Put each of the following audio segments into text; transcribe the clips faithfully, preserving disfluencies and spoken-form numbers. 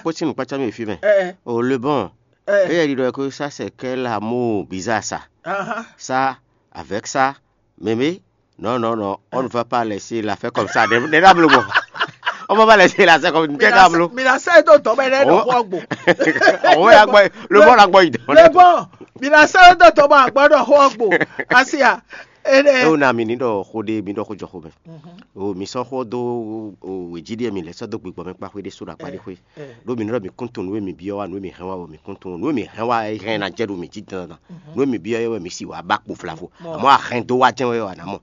Kpó sín nǔkpácá mì fí mɛ. Ɛ, O le bon, ɛ, éyɛ́ ɖiɖɔ ko ça c'est quel amour bizarre ça. Ahan. Ça, avec ça, mémé, non, non, non, on ne va pas laisser l'affaire comme ça. Nɛ nɛ ɖablo bɔ. On va pas laisser l'affaire comme nɛ ɖablo. Mina sɛ do dɔ mɛ nɛ ɖo xɔ gbo. Ɔwɔ ya gbɔ, le bon la gbɔ yi dɔn. Le bon, mina sɛ do dɔ mɛ agbɔ ɖo xɔ gbo. Asia. Ene. E o na mi ni ɖɔ xó ɖé mi ɖɔ xó jɔ xó mɛ. O mi sɔ́ xó dó o wějí ɖé mi lɛ sɔ́ dó gbigbɔ mɛ kpá xwé ɖé só ɖo akpá ɖé xwé. Ɖó mi nɔ ɖɔ mi kún tunwun nǔ e mi byɔ́ wá, nǔ e mi hɛn wá wɛ mi kún tunwun, nǔ e mi hɛn wá é hɛn ná jɛ ɖo mi jí dandan. Nǔ e mi byɔ́ é wɛ mi si wǎ ba kpo vlavo. Amɔ̌ ahɛn dó wá jɛ́n wɛ wɛ a nǎ mɔ.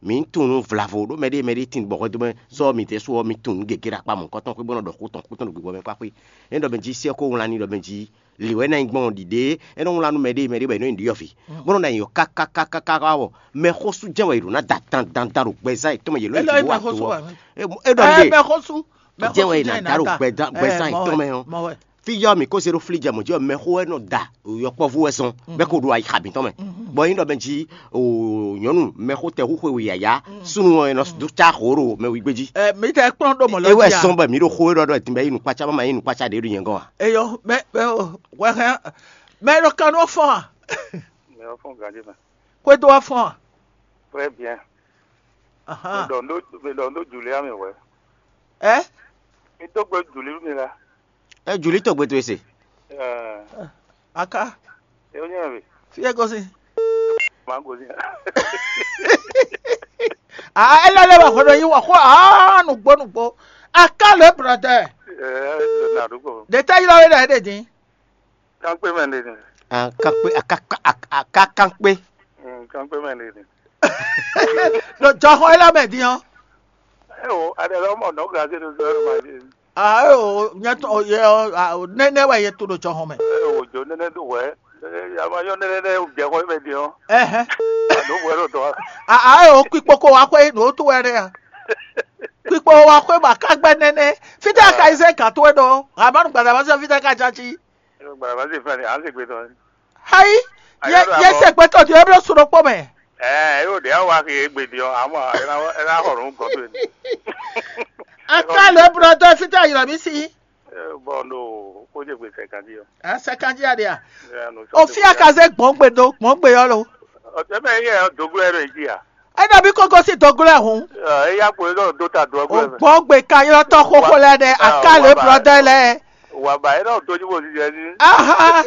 Mi tunwun vlavo ɖó mɛɖé mɛɖé tin bɔ hwɛndo mɛ sɔ́ mi ɖésú ɔ́ mi tunwun nǔ gěgé ɖo akpá mɔ̌hunkɔtɔn xwé bó nɔ ɖɔ xó tɔn xó tɔn ɖo gbigbɔ mɛ kpá xwé. É nɔ ɖɔ mi jí sɛ́ xó wlán ní ɖɔ mi jí lǐ wɛ ná nyí gbɔn ɖiɖe é nɔ wlán nú mɛɖé mɛɖé bɔ è nɔ nyi ɖiɖɔ́vǐ bó nɔ ná nyǐ ɔ́ kákákákáká wɔ mɛxósú jɛ́n wɛ è ɖǒ ná da dandandan ɖo gbɛzán yětɔn mɛ yě lɔ Ɛ lɔ yě mɛxósú wɛ. Ɛ ɛ ɖɔ Ɛ lé mɛxósú. Jɛ́n wɛ è nǎ da ɖo gbɛzán gbɛzán yětɔn mɛ ɔ́. Mɔ wɛ. Fí yɔ mǐ ko se ɖó flí jɛ mɔ̌ jí ɔ́, mɛxó wɛ nɔ da yɔkpɔ́vú wɛ zɔn bɛ́ ko ɖo ayixa mǐtɔn mɛ. Bɔ é nyí ɖɔ mɛ jí o nyɔ̌nu mɛxó tɛhúxwe we yǎyá súnnu ɔ́ è nɔ dó cá hǒ ɖo mɛ wígbé jí. Ɛ mi tɛ kplɔ́n ɖo mɔ̌ lɔ É wɛ jí a? Zɔn bɔ mǐ ɖo xó e ɖɔ ɖɔ dǐn bɔ é nyí nukpácá bɔ ma nyí nukpácá ɖě ɖo nyɛ gɔ́n a? Eyɔ mɛ mɛ o wɛ hɛn mɛ ɖo kan nɔ fɔ́n a? Mi wá fɔ́n ganjí mɛ. Xwédo wá fɔ́n a? Très bien. Mi Ahan. Ɖɔ nú mi ɖɔ nú Julia mi hwɛ. Ɛ? Mi dó gbe Juli mi la. Ɛ Juli tɔgbe towe se. Ɛɛ, Aka. E wonye mi. Fi e gosin. Ma gosin. Ah, ele le wa xɔ ɖo yi wa xɔ ah nugbo nugbo. Aka le brɔdɛ. Ɛɛ, na ɖu ko. Ɖe tɛ yi la we ɖe ɖe din. Kankpe mɛ ɖe ni. Akankpe akakankpe. Mm, kankpe mɛ ɖe ni. Ɖo jɔxɔ yi la mɛ din ɔ́. Ewo, aɖe lɔ mɔ nɔ gaze ɖo zɔ ma ɖe. Ah, ewo, nyɛ tɔ ye ɔ, ah, nɛnɛ wɛ ye to ɖo jɔxɔ mɛ. Ewo, jo nɛnɛ do wɛ. Ama yɔ nɛnɛ nɛ jɛ xɔ mɛ din ɔ́. Ɛhɛn. Ado wɛ ɖo dɔ. Ah, ah, ewo, kpikpo ko wa xwe, no to wɛ ɖe ya. Kpikpo wa xwe ba ka gbɛ nɛnɛ. Fita ka yi se ka to e ɖo. Amanu gbada ma se fita ka jaji. Gbada ma se fɛn ni, an se gbe tɔ. Hayi, ye ye se gbɛtɔ di eblo su ɖokpɔ mɛ. Ɛɛ, yóò ɖe awa ke egbe di ɔ, amɔ ena ena xɔ nu gɔdo ni. Aka le brɔdɔ fita yira mi si. Bɔn no ko je gbe sɛ kan di ɔ. A sɛ kan di a de a. O fi a ka ze gbɔn gbe do gbɔn gbe yɔ lo. Ɔtɛ mɛ yɛ dogo yɛ ɖo edzi a. Ena bi koko si dogo lɛ hun. Eya kpo yɛ do ta do O ɛgbɛ mɛ. Gbɔn gbe ka yɔ tɔ xɔxɔ lɛ de aka le brɔdɔ lɛ. Wà bàyẹ̀ náà tójú bò ti jẹ ní. Aha!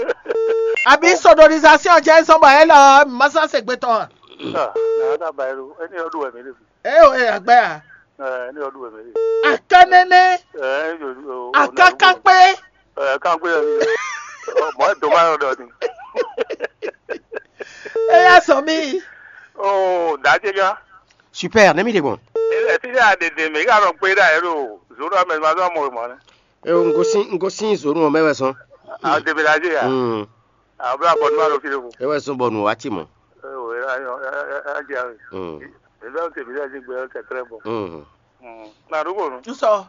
Àbí sodorisation jẹ́ sọ́nbà ẹ lọ mọ́sánsè gbé tán. Àwọn tá a bàyẹ̀ lò ẹni ọdún ẹ̀mí lè fi. Ẹ ò ẹ àgbẹ̀ à. Ẹni ọdún ẹ̀mí lè fi. Akánẹ́nẹ́, Ẹ ẹ yóò yóò. Akákápé, Ẹ ká gbé ẹni. Mọ̀ ẹ́ dùn máa ń dọ̀ ni. Ẹ yá sọ mí. Ó dájé gá. Super, nɛ́ mì ɖe gbɔn. Ẹ ti ní àdèdè mí ká lọ pé dà ẹ lò. Zòrò àmì ẹ̀ máa zọ́ mọ̀ ọ́ mọ́ ni. E un gosín un gosín zǒnu ɔ́ mɛ wɛ zɔn. Àwọn tèmi la ṣe yà. Mm. Àwọn bí abọ́dún máa lọ fi lóko. E wɛ zɔn bɔ nù wá tì mɔ. Ẹ wò ẹ ẹ ẹ ẹ jẹ àwọn. Mm. Èmi àwọn tèmi la ṣe gbé ẹ tẹ tẹrẹ bọ. Mm. Nà dúgbò nù. N sọ.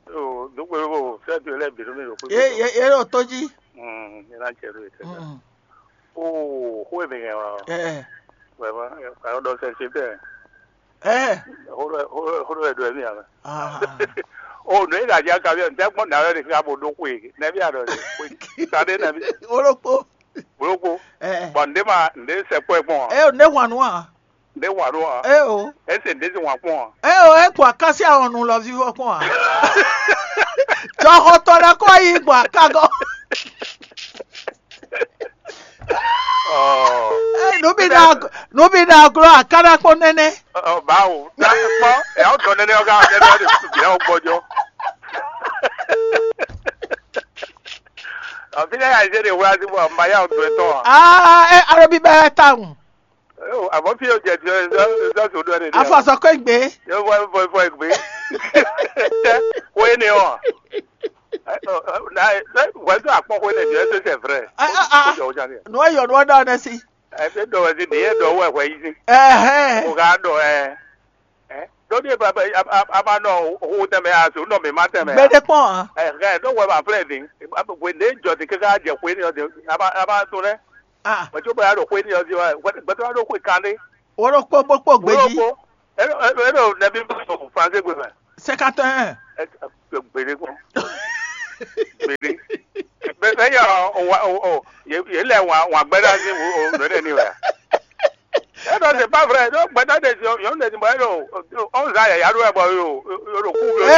Ẹ wò dúgbò yóò bò fẹ́ tu ẹ lẹ́ bìrù mi lò pé. Ye ye ye ɖo tó dzi. Ẹ náà jẹ lóye tẹ. Mm. Ó kó èmi yẹn wá. Ẹ ẹ. Wẹ̀ mọ́ ẹ kàró dɔ sẹ ṣe tẹ̀. Ɛ, Xó ɖɔ xó ɖɔ xó ɖɔ ɖɔ mí ame. Ah. O nɔ yi ɖadzi akabi ɔn tɛ kpɔn na yɔ ɖe ka bo ɖo xwe nɛbi aɖɔ ɖe xwe ta ɖe nɛbi. Olokpo. Boloko. Ɛ. Bɔn nde ma nde sɛ kpɔ kpɔn a. Ɛ o ne hwan nu a. Nde hwan nu a. Ɛ o. Ese nde si hwan kpɔn a. Ɛ o ɛ kpɔ akasi awɔnu lɔ vivɔ kpɔn a. Jɔxɔtɔ lɛ kɔ yi gbɔ akagɔ. Ɔ. Ɛ nu bi na nu bi na glɔ akana kpɔn nɛnɛ. Ɔ bawo. N'a kpɔ ɛ awo dɔ nɛnɛ ɔga ɔga ɛdi ɔdi susu bi awo gbɔjɔ. Ɔ fi ne ka yi se de wula si bɔ mba ya o do etɔn a. Aa ɛ alo bi bɛ ta ŋu. Ɔ abɔ fi o jɛ ti ɔ ɛ sɔ so do ɛdi. Afɔ sɔ ko egbe. Yɛ fɔ fɔ fɔ egbe. Ko ye ne ɔ. Wɛdu akpɔxwe ne jɛ ɛsɛ sɛ vrɛ. Aa aa. Ko jɔ o jan kɛ. Nua yɔ nua da ne si. Ɛ ɖe ɖɔ wɛ si ɖe yɛ ɖɔ wɛ hwɛ yi si. Ɛhɛn. O ka ɖɔ ɛ. Ɛ ɖo ɖe ba ba a ba nɔ hu tɛmɛ a so nɔ mi ma tɛmɛ. Gbɛdɛ kpɔn a. Ɛ hɛ ɖo wɛ ma flɛ di. Hwe ne jɔ di kaka jɛ hwe ni ɔ di a ba a ba to lɛ. Ah. Mɛ tso bɛ ya ɖo hwe ni ɔ di wa gbɛtɔ ya ɖo hwe kan de. Wolo kpokpo kpo gbeji. Wolo kpo. Ɛ ɛ ɛ ɖo nɛbi français gbe mɛ. Cinquante et un. Ɛ gbede kpɔn. Mɛ ɖé. Bɛ bɛ yɛ o o o yě lɛ wǎn wǎn gbɛdá sín o o nɔ ɖe ní wɛ. Ɛ ɖɔ c'est pas vrai ɖó gbɛdá ɖe si yɔn ɖe si bɔ ɛ ɖo ɔn zan yaya ɖo ɛ bɔ yo yo ɖo kú yo. Ɛ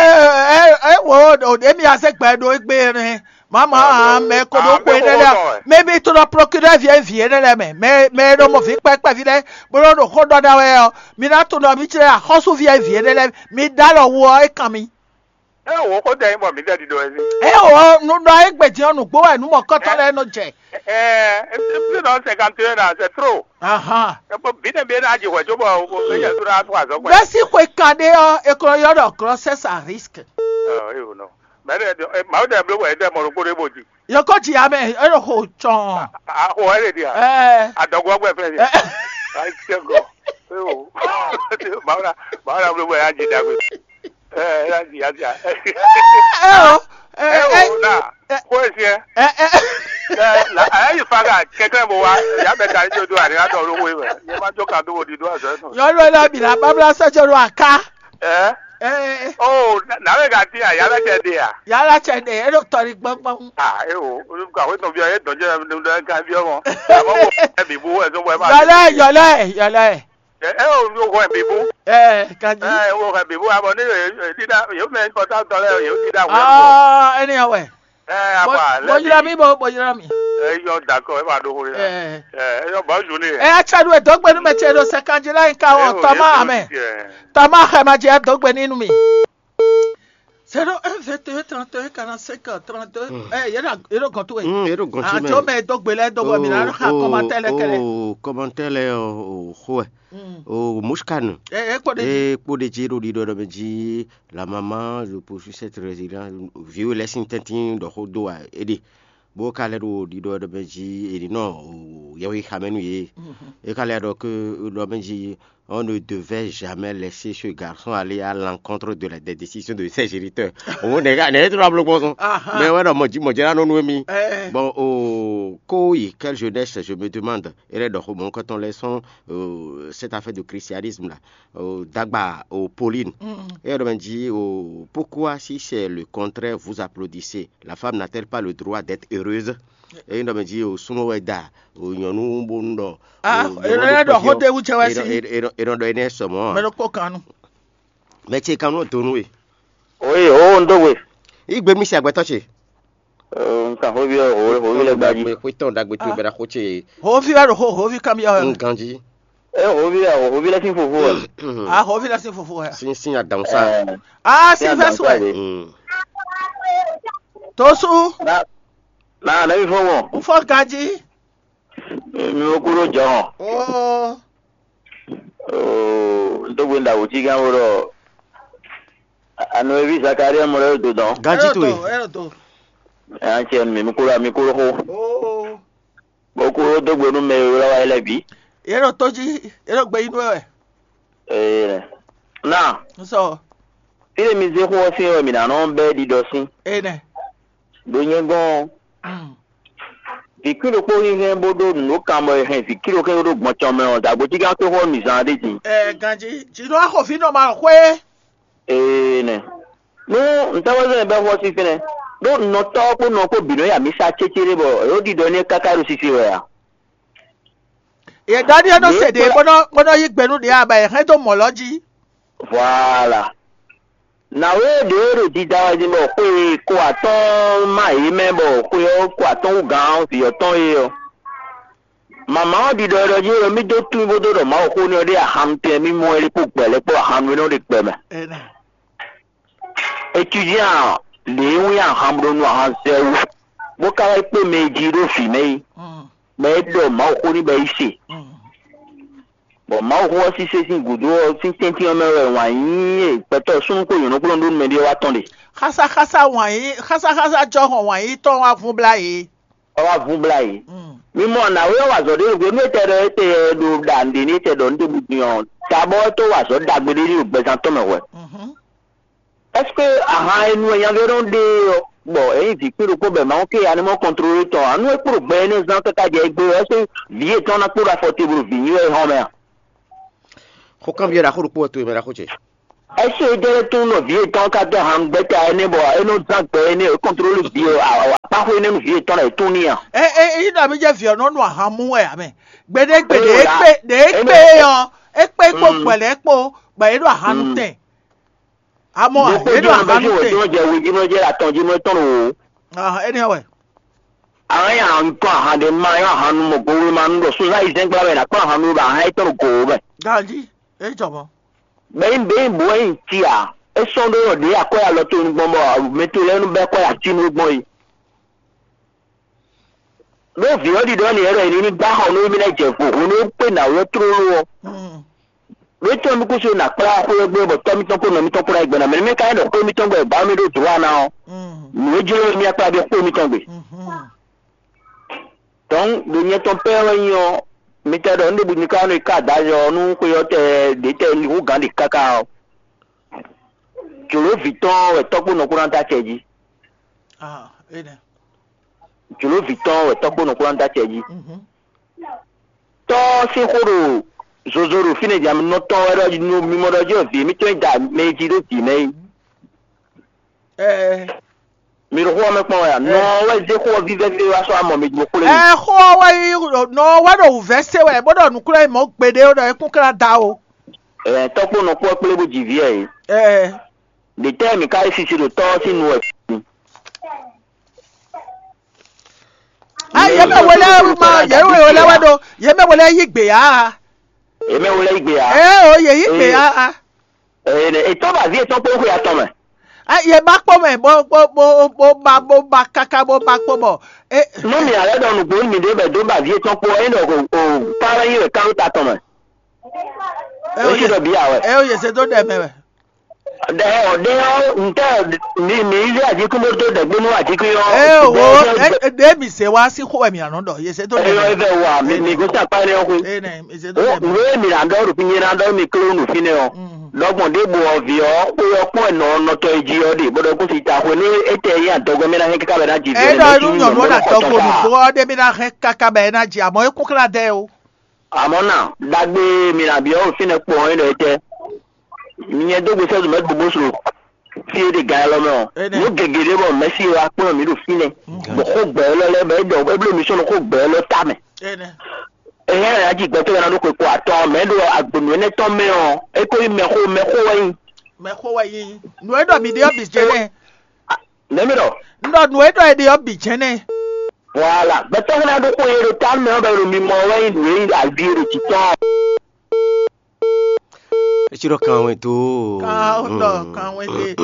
ɛ ɛ wo o ɖe mi ase gbɛ ɖo egbe ne mama mɛ ko ɖo ko ene lɛ mɛ mi to ɖɔ procureur vie vie ne lɛ mɛ mɛ mɛ ɖo mɔ vi kpɛkpɛ vi lɛ bolo ɖo xó ɖɔ da wɛ ɔ mi na to ɖɔ mi tsɛ axɔsu vie vie ne lɛ mi da lɔ wo ɔ e kan mi. Ɛ wò ó kó tɛ nyí bɔ mǐ tɛ ɖiɖɔ wɛ sí. Ɛ o nu ɖɔ egbe din ɔ nǔgbó wɛ nú mɔkɔtɔ lɛ́ɛ nɔ jɛ. Ɛ ɛ ɛ nɔ cinquante et un ans, c'est trop. Ahan. Ɛ bɔ bǐ nɛ bǐ ná jì hwɛ cóbɔ ó yɛ tó ná tó azɔ gbɛ. Bɛ́ sí xwe kan ɖé ɔ́, è ko nɔ ylɔ́ ɖɔ grossesse à risque. Ɔ ɛ o nɔ. Mɛ ɖe ɛ Mawu ɖe bló wɛ ɖe mɔ ɖokpó ɖé bó di. Yɔkɔ ji ame e ɖo xo tsɔn. A xo ɛ lè di a. Ɛ Adɔgɔ gbɛ fɛ di. Ɛ. Ayi tɛ gɔ. Ɛ o. Mawu ɖe Mawu ɖe bló wɛ ya ji dagbe. Ɛ ɛ ya ji ya ji a. Ɛ o. Ɛ o na. Xo esi ɛ. Ɛ ɛ. Ɛ la ɛ yi fa ka kɛkɛ bo wa ya bɛ ta yi do do ani la dɔ lo wo yi mɛ. Ye ma jo ka do wo di do azɔ nɔ. Nyɔnu ɖé bǐ ná báblá sɔ́ jɔ ɖo aká. Ɛ. Ɛ. Oh, na we ka ti a yàrá tɛ de a. Yàrá tɛ de e ɖo tɔri gbɔngbɔn. Ah, e o, ka we tɔn bi e dɔn jɛ ne ne ka bi ọmọ. Àmọ́ wo ẹ bì bú ẹ tó wọ ẹ máa. Yọlẹ yọlẹ yọlẹ. Ẹ ẹ o wo hẹ bì bú. Ẹ kanji. Ẹ wo hẹ bì bú àmọ́ ní yóò dídá yóò mẹ kọta tọ lẹ yóò dídá wẹ. Ah, ẹni awẹ. Ẹ apa lẹ. Bojúlá mi bo bojúlá mi. Ẹ yọ dakọ ẹ máa dókòó yá. Ẹ. Ẹ yọ bọ́ọ̀lù ni. Ẹ atsadu e dɔgbe nu mɛ tse ɖo sɛkanji la yi ka wɔ tɔma amɛ. Tɔma xɛ ma jɛ dɔgbe ni nu mi. Zéro un vingt et un trente et un quarante-cinq trente-deux. Ɛ yɛ ɖo yɛ ɖo gɔntu wɛ. Mm, yɛ ɖo gɔntu mɛ. Atsɔ mɛ dɔgbe lɛ dɔgbe mi na ɖo xa kɔmatɛ lɛ kɛlɛ. O kɔmatɛ lɛ o xo ɛ. O muskanu. Ɛ ɛ kpɔ de. E kpɔ de dzi ɖo ɖiɖɔ ɖɔ mɛ dzi. La maman, je poursuis cette résilience. Vieux lɛ sin tɛntin ɖɔ xó do a eɖe. Bó ka lɛ ɖo ɖiɖɔ ɖɔ mɛ dzi eɖe nɔ yɛwi xamɛ nu ye. E ka lɛ ɖɔ ke ɖɔ mɛ dzi on ne devait jamais laisser ce garçon aller à l'encontre de la, des décisions de ses géniteurs. Bon, ne ne to la bloc bon. Mais ouais non, mon dieu, mon dieu, non non mi. Bon, oh, ko yi quelle jeunesse, je me demande. Et là donc, bon, quand on laisse euh, cette affaire de christianisme là, euh, d'Agba au Pauline. Et elle me dit, oh, pourquoi si c'est le contraire, vous applaudissez? La femme n'a-t-elle pas le droit d'être heureuse? Et elle me dit, oh, sunwɛ da, oh, nyɔnu bonu ɖɔ. Ah, e nɔ ɖɔ xó ɖe wú jɛ wɛ si. E nɔ ɖɔ énɛ́ sɔmɔ. Mɛ ɖokpó kan nu. Mɛ ce kan nɔ donu we. Oyi o n do we. Igbe mi si agbɛtɔ ce. Nka xó bi o xó bi lɛ gbaji. Xó tɔn dagbe to bɛra xó ce. Xó fi wɛ ɖo xó xó fi kan bi ɔ. Nkanji. E xó bi o xó bi lɛ sin fofo wɛ. A xó fi lɛ sin fofo wɛ. Sin sin adan sa. A sin fɛ su wɛ. Tosu. Na na ne mi fɔ mɔ. N fɔ ganji. Mi wo kúrò jɔhɔn. Ooo. Ooo, n tó gbé ndàwó tí gán wó ɖɔ. Àná eví Zakaria mɔ lɛ́ ɖo dɔn. Ganji to ye. Ɛ ɛ tó. Ɛ an tiɛ mi mi kúrò mi kúrò xó. Ooo. Bó kúrò dó gbé nú mɛ e wlá wa lɛ́ bǐ. Yɛ ɖo tó jí, yɛ ɖo gbé yí nú wɛ. Ee. Na. N sɔ. Fí e mi zé xó ɔ́ sín wɛ mǐ ná nɔ bɛ́ ɖiɖɔ sín. Ee nɛ. Ɖo nyɛ gɔ́n ɔ́, vǐ kwín ɖokpó hínhɛ́n bó ɖó nǔ ɖó kan bɔ è hɛn vǐ kwín ɖokpó ɖó gbɔn cɔn mɛ ɔ́, dǎgbójígán tó xɔ mǐ zán ɖé din. Ɛ ganjí jǐ nɔ axɔví nɔ ma xwé. Ee nɛ. Nú ntɛ́wɛzɔ́ bɛ́ xɔ sín fínɛ́, ɖó nɔtɔ́ kpó nɔ kpó bǐ nɔ ya mǐ sa cécéɖé bɔ è ɖo ɖiɖɔ n'i káká ɖo sise wɛ a? Yě ɖɔ n'i é nɔ se ɖě bó nɔ bó nɔ yí gbe nú ɖě a bɔ è hɛn dó mɔ̌ lɔ jí. Voilà. Nǎwe ɖě e ɖo dida wɛ din bɔ xwe ko atɔ́ɔ́n má yě mɛ bɔ xwe ɔ́ ko atɔ́ɔ́n wú gǎn vǐ ɔ́ tɔn é ɔ́. Mama ɔ́ ɖiɖɔ ɖɔ jí ɔ́, mí dó tunwun bó dó ɖɔ Mawu xó n'i ɔ́ ɖé ahan tɛn mí mɔ ɛ kpó gbɛ̌ lɛ́ɛ kpó ahan nú é nɔ ɖe gbɛ mɛ. Étudiant lě e wín ahan bó nɔ nú ahan zɛ wú, bó ka wá yi kpé mɛ e jí ɖó vǐ mɛ é, bɔ é ɖɔ Mawu xó n'i bɔ é yi se. Bɔ Mawu xó ɔ́ sísé sín gǔdo ɔ́ sín tɛ́ntin ɔ́ mɛ wɛ wǎn yíyí e gbɛtɔ́ súnnu kpó nyɔ̌nu kpó nɔ ɖó nú mɛɖée ɔ́ wá tɔ́n ɖe. Xásáxásá wǎn yí xásáxásá jɔhɔn wǎn yí tɔn wá vun blá yě. Ɔ́ wá vun blá yě. Mí mɔ nǎwe ɔ́ wa azɔ̌ ɖé ɖo nú é tɛ ɖɔ é tɛ ɖo ɖa nǔɖé ní é tɛ ɖɔ nú ɖěbǔ din ɔ́, tabɔ é tó wa azɔ̌ ɖagbe ɖé ní ɖo gbɛzán tɔn mɛ hwɛ. Ɛseke ahan e nu e nyaví ɔ́ nɔ ɖe ɔ́, bɔ é nyí vǐ kpé ɖokpó bɔ Mawu ké animɔ kɔntlóle tɔn ǎ, nú é kpo ɖo gbɛ énɛ́ zán káká jɛ égbé ɔ́, ɛseke vǐ yětɔn ná kpo ɖo afɔ te bo ɖo vǐ nyi wɛ é hɔn mɛ a? Xó kanbyɔ́ ɖaxó ɖokpó wɛ towe mɛ ɖaxó ce. Ɛsí e jɛ lɛ́ tún nɔ vǐ yětɔn ká dó han gbɛ́ta énɛ́ bɔ é nɔ zán gbɛ énɛ́ é kɔntlóli vǐ e akpáxwé énɛ́ nú vǐ yětɔn lɛ́ɛ é tún n'i a? É é é ɖɔ mì jɛ vǐ ɔ́ nɔ nú ahan mú wɛ ǎ mɛ. Gbeɖé gbeɖé é kpé ɖě é kpé é ɔ́, é kpé kpó gbɛ̌lɛ́ kpó bɔ é ɖo ahan nú tɛn. Amɔ ǎ, é ɖo ahan nú tɛn. Jɛ we jí nɔ jɛ atɔn jí nɔ tɔn o. Ahan énɛ́ wɛ. Ahan ya ntɔn ahan ɖe ma yɔ ahan nu mɔ go we ma nu ɖɔ sozan yi zɛn gbla wɛ na kpɔ ahan nu ba ahan yi tɔn go mɛ. Ganji, é jɔ mɔ. Bɛyi bɛyi bo wɛ nyi ti a? É sɔ́n ɖó ɖɔ ɖě akɔ ya lɔ to nu gbɔn bɔ mɛ to lɛ́ɛ nu bɛ kɔ ya ti nu gbɔn yi. Ɖó vǐ ɔ́ ɖiɖɔ ni yɛ ɖɔ è ní ní gbá xɔ nú émí ná jɛ vo hwenu e kpé nǎwe ɔ́ tlóló ɔ́. Ɖó tɔ́ mì kúsú ná kplá xwé ɔ́ gbé bɔ tɔ́ mítɔn kpó nɔ mítɔn kpó ná yi gbɛ́ ná mɛ nú mɛ ka nyí ɖɔ xwé mítɔn gbɛ gbǎ mì ɖó dlǒ ana ɔ́. Nǔ e jló mì akpá ɖe xwé mítɔn gbe. Dɔ̌n ɖo nyɛ tɔn pɛ́ wɛ nyí ɔ́, mi tɛ ɖɔ nǔɖé bǔ mi ka nɔ yi ká adǎjɔ ɔ́ nú xwe ɔ́ tɛ ɖě tɛ hú gǎn ɖe káká ɔ́. Jǒló vǐ tɔn wɛ tɔ́ kpó nɔ kpó ná dó acɛ jí. Jǒló vǐ tɔn wɛ tɔ́ kpó nɔ kpó ná dó acɛ jí. Tɔ́ ɔ́ sín xó ɖo zozo ɖo fínɛ́ jà nɔ tɔn wɛ ɖɔ mi mɔ ɖɔ jí wɛ vǐ émítɔn yi da mɛ e jí ɖó vǐ mɛ é. Mi ɖo xó ɔ́ mɛ kpɔ́n wɛ a? Nɔ ɔ́ wɛ zé xó ɔ́ vívɛ́ fí wá sɔ́ amɔ mi jló xwlé. Ɛ xó ɔ́ wɛ yí nɔ ɔ́ wɛ ɖo wǔvɛ́ se wɛ bó ɖɔ nǔkúnlɛ́ mɔ gbeɖé ɖɔ é kún klá da o. Ɛ tɔ́ kpó nɔ kpó ɔ́ kplé bó ji vǐ ɛ é. Ɛ Ɖě tɛ́ mǐ ka yi sisi ɖo tɔ́ ɔ́ sín nu wɛ? A yě mɛ we lɛ́ɛ ma yě mɛ we lɛ́ɛ wɛ ɖo yě mɛ we lɛ́ɛ yí gbě a? Yě mɛ we lɛ́ɛ yí gbě a? Ɛ o yě yí gbě a? Ɛ etɔ́ ba vǐ etɔ́ kpó xwe atɔn mɛ. A yě ba kpɔ́ mɛ bó bó bó bó ba bó ba káká bó ba kpó bɔ. Nú mǐ alɛ ɖɔ nǔgbó nú mǐɖée bɛ dó ba vǐ etɔn kpó ɔ́, é ɖɔ o parent yi wɛ kán ta tɔn mɛ. Ɛ o Ési ɖɔ bǐ a wɛ. Ɛ o yě zé dó ɖɛ mɛ wɛ. Ɖɛ ɔ ɖe ɔ́ ntɛ mi mi yi ajíkún bó dó ɖɛgbé nú ajíkún ɔ́. Ɛ o ɖe mi zé wá sí xó wɛ mi ànɔ ɖɔ yě zé dó ɖɛ mɛ. Eyɔ evɛ wa mi mi gosín akpá énɛ́ ɔ́ xwé. Ɛ nɛ mi zé dó ɖɛ mɛ. Nǔ e mi ná ɖɔ ɖo fínye ná ɖɔ mi kló nǔ fínɛ́ ɔ́. Ɖɔgbɔn ɖěbǔ ɔ́ vǐ ɔ́ xwé ɔ́ kpɔ́n ɛ nɔ nɔtɔ́ e jí ɔ́ ɖe bó ɖɔ kó si ta xwé nú étɛ́ nyí adɔgbɛ́ mɛ ná hɛn kíká bɛ ná jí vǐ ɔ́. Ɛ ɖɔ nú nyɔ̌nu ɔ́ ná dɔgbɔn nǔgbó ɔ́ ɖé mi ná hɛn káká bɛ é ná jí àmọ́ é kún xlá dɛ o. Àmọ́ nà, ɖagbe e mi nǎ byɔ́ ɖo fínɛ́ kpɔ́n ɔ́ é ɖɔ étɛ́? Mi nyɛ dó gbe sɛ́ zumɛ́ gbogbo slo fí e ɖe gan élɔ́ mɛ ɔ́. Nǔ gěgé ɖé bɔ mɛ̌si e wá kplɔ́n mǐ ɖo fínɛ́, bɔ xó gbɛ̌ élɔ́ lɛ́ɛ bɔ é ɖɔ ébló mi sɔ́ nɔ xó gbɛ̌ élɔ́ ta mɛ. Éhɛ́ ɛ ná ji gbɛtɔ́ ná ɖó xwe ko atɔn mɛ ɖo agbǒnú énɛ́ tɔn mɛ ɔ́, é ko nyí mɛxó mɛxó wɛ nyí. Mɛxó wɛ nyí. Nǔ e ɖɔ mi ɖe ɔ́ bǐ jɛ́nɛ́. Nɛ̌ mi ɖɔ? Un ɖɔ nǔ e ɖɔ è ɖe ɔ́ bǐ jɛ́nɛ́. Voilà, gbɛtɔ́ ná ɖó xó e ɖo ta mɛ ɔ́ bɔ è ɖo mi mɔ wɛ nyí nǔ e nyí avi e ɖo jǐ tɔn. Etsí ɖɔ kanwé tó. Kan ɖɔ kanwé ɖe.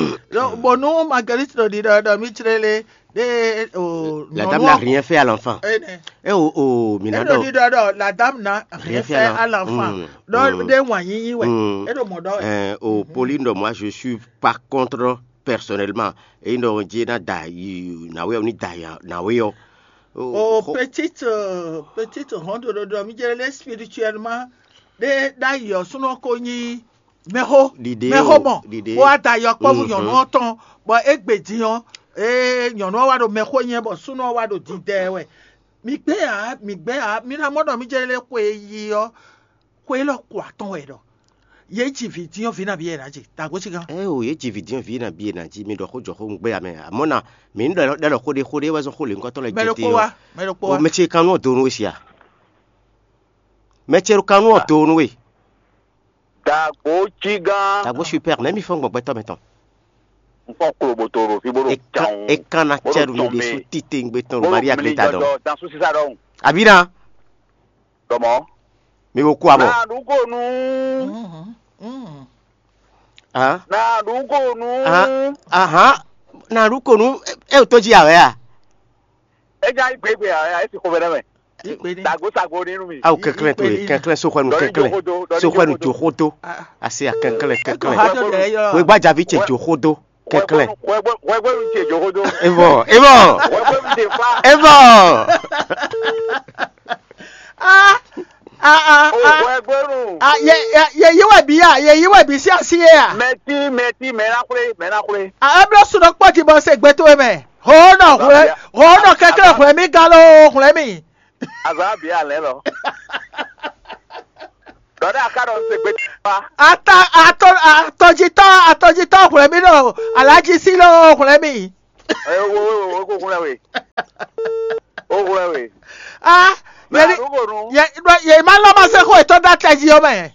Bɔnu Marguerite ɖo ɖiɖɔ ɖɔ mi tsré lé ɖe o. La dame n'a rien fait à l'enfant. Ene. E o o mina ɖɔ. Ɖiɖɔ ɖɔ la dame n'a rien fait à l'enfant. Ɖɔ ɖe wǎn yíyí wɛ. E ɖo mɔ ɖɔ. O Pauline ɖɔ moi je suis pas contre personnellement. Eyi ɖɔ jí na da yi nawe ɔ ni da ya nawe ɔ. O petite petite honte ɖo ɖɔ mi jɛ lé spirituellement. Ɖe ɖ'ayǐ ɔ́ súnɔ ko nyí mɛxó. Ɖiɖe mɛxó o, mɔ ɖiɖe. Bó wá da yɔkpɔ́vú nyɔ̌nu ɔ́ tɔn bɔ égbé din ɔ́, ee nyɔ̌nu ɔ́ wá ɖo mɛxó nyɛ bɔ súnɔ ɔ́ wá ɖo dindɛ wɛ. Mi gbɛ́ ǎ, mi gbɛ́ ǎ, mi ná mɔ ɖɔ mi jɛ lé xwe e yi ɔ́, xwe élɔ́ ko atɔn wɛ ɖɔ. Yě ji vǐ din ɔ́, vǐ nabí yɛ ná ji, dǎgbó sí gán. Ɛ o yě ji vǐ din ɔ́, vǐ nabí yɛ ná ji, mi ɖɔ xó jɔ xó un gbɛ́ ǎ mɛ. Amɔ̌ na, mǐ ní ɖɔ ɖɔ xó ɖé xó ɖé wɛ zɔn xó lě ŋkɔtɔn lɛ jɛ te ɔ́. Mɛ ɖokpó wá, mɛ ɖokpó wá. O mɛ ce kanú ɔ́ do nú we sia. Mɛ ce ɖo kanú ɔ́ do nú we. Dǎgbó cí gán. Dǎgbó super, nɛ̌ mi fɔ́n gbɔn gbɛtɔ́ mɛ tɔn? Un fɔ́n klo bó to ɖo fí bó ɖo E kan jawun. E kan na Bó ɖo cɛ ɖo mi jɔn ɖe mɛ. Sú tite ŋgbe tɔn Bó ɖo ɖo Maria mli gbeta jɔjɔ dɔn. Dan sú sísá ɖɔhun. Abina. Dɔmɔ. Mi wo kú abɔ. Na ɖu ko nu. Hàn? Na ɖu ko nu. Hàn? Ahàn? Na ɖu ko nu. E o tó jí awɛ a? E nya yi gbegbe a, e si xovɛ ɖe mɛ. Sago sago ni nu mi. Awo kɛnklɛn to ye, kɛnklɛn soxɔnu kɛnklɛn. Soxɔnu joxodo. Asi a kɛnklɛn kɛnklɛn. Wegba javi cɛ joxodo kɛnklɛn. Wɛgbɛnu cɛ joxodo. Evɔ evɔ. Wɛgbɛnu cɛ fa. Evɔ. Ah, ah, ah, ah. Wɛgbɛnu. Ah, ye ye ye yi wɛ bi ya, ye yi wɛ bi si asi ye ya. Mɛti mɛti mɛ na xwle mɛ na xwle. Ah, eblo sunɔ kpɔti bɔ se gbe to mɛ. Ho nɔ hwlɛ, ho nɔ kɛkɛ hwlɛ mi galo hwlɛ mi. Azɔ abi alɛ lɔ. Dɔ̌ ɖé aká ɖɔ un se gbe wá. Ata atɔ atɔjitɔ atɔjitɔ hwlɛ́n mì ɖo alaji sí lɔ hwlɛ́n mì. Ɛ wo wo wo ko hwlɛ́n we. Wo hwlɛ́n we. Ah, Mɛ yɛri arúgbó nu. Yɛ yɛ ma lɔ ma se xó etɔ́ ɖo atɛ jí ɔ́ mɛ.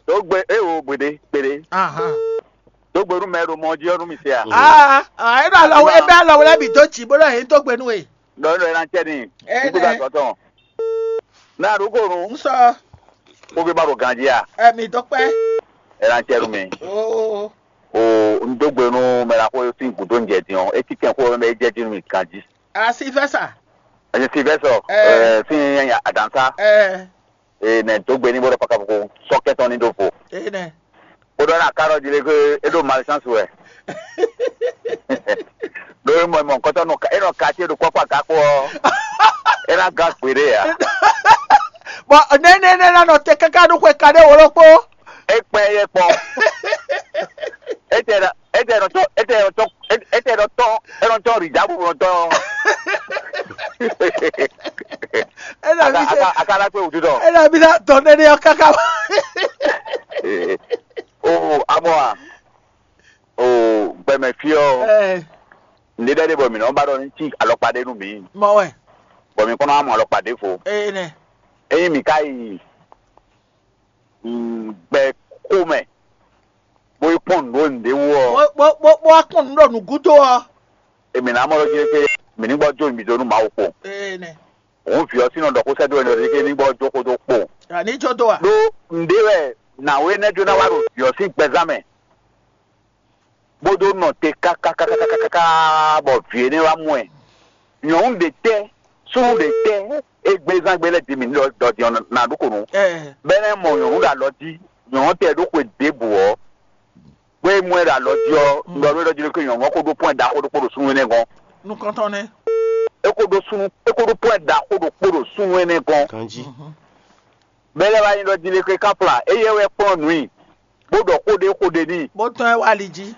Dó gbe é wo gbeɖé gbeɖé. Ahan. Dó gbe nú mɛ e ɖo mɔ jí ɔ́ nú mi se a. Ah, ah, e ɖo alɔ e bɛ alɔ wɛ lɛ bǐ dó jǐ bó ɖɔ yě dó gbe nú we. Dɔ̌ nɔ ɛ ná cɛ n'i. Ɛ Ikú nɛ. Gba sɔ́ tɔn. Ná ɖó kó nu. N sɔ. Kó fi ba ɖo ganjí a. Ɛ mi dó kpɛ. Ɛ ná cɛ nú mi. Oo. O n dó gbe nú mɛ la xó sín gǔdo ń jɛ din ɔ́, é cí kɛn xó mɛ é jɛ jí nú mi ganjí. Asi fɛ sa. Ɛsɛ Silvɛsɔ Ɛ. Ɛ, sín nyanya adansa. Ɛ. Ee, nɛ dó gbe ní bó ɖɔ pakapoko sɔ́ kɛntɔn ní ɖó vo. Ee nɛ. Bó ɖɔ ná ká ɖɔ jí lé ké é ɖo malchance wɛ. Ɖó é mɔ é mɔ nukɔntɔn nɔ é nɔ ka ce ɖo kpɔkpɔ agakpo ɔ́, é ná gán gbeɖé ǎ. Bɔn nɛnɛ nɛ ná nɔ te káká ɖó xwe ka ɖé wǒ ɖokpó. É kpɛ yɛ kpɔn. É tɛ ɖɔ é tɛ ɖɔ tɔn é tɛ ɖɔ tɔn é tɛ ɖɔ tɔn é nɔ tɔn rìdá bó nɔ tɔn. Ena mi se aka aka la kpe wutu dɔ. Ena mi na dɔn nene ɔ kaka. O amɔ a o gbɛmɛ fi ɔ. Ɛɛ. Nde ɖe ɖe bɔ mi nɔ ba ɖɔ ní tí alɔkpa ɖe nú mi. Mɔ wɛ. Bɔ mi kɔnɔ amɔ alɔkpa ɖe fo. Ee nɛ. Eyin mi ka yi gbɛ xomɛ bó yi kpɔn nǔ ɖó nǔɖé wú ɔ. Bó bó bó bó wá kpɔn nǔ ɖo nǔgúdo ɔ. Èmi ná mɔ ɖɔ jí pé mǐ ní gbɔ jó mi dó nú Mawu kpo. Ee nɛ. Òun vǐ ɔ́ sín nɔ ɖɔ xó sɛ́ dó ɛnɛ ɖɔ ké ní gbɔ jó xó dó kpo. Àní jó dó a. Ɖó nǔɖé wɛ nǎwe énɛ́ jó ná wá ɖo vǐ ɔ́ sín gbɛzán mɛ. Bó dó nɔ te kákákákákáká bɔ vǐ énɛ́ wá mɔ ɛ. Nyɔ̌nu ɖě tɛ́, súnnu ɖě tɛ́, égbézán gbé lɛ́ɛ din mǐ ɖɔ ɖɔ din ɔ́ ná ɖu kò nú. Bɛ́ nɛ́ mɔ nyɔ̌nu ɖo alɔ jí, nyɔ̌nu tɛ ɖó xwe ɖěbǔ ɔ́, bó e mɔ ɛ ɖo alɔ jí ɔ́, un ɖɔ nú é ɖɔ jí ɖó ké nyɔ̌nu ɔ́ ko ɖó pɔ́n ɖaxó ɖokpó ɖo súnnu énɛ́ gɔ́n. Nukɔntɔn nɛ́. É ko ɖó súnnu, é ko ɖó pɔ́n ɖaxó ɖokpó ɖo súnnu énɛ́ gɔ́n. Kanjí. Bɛ́ lɛ́ wá nyi ɖɔ jí ɖé ké kápla, éyɛ́ wɛ kplɔ́n nǔ i, bó ɖɔ xó ɖé xó ɖé n'i. Bó tɔ́n ɛ wá ali jí.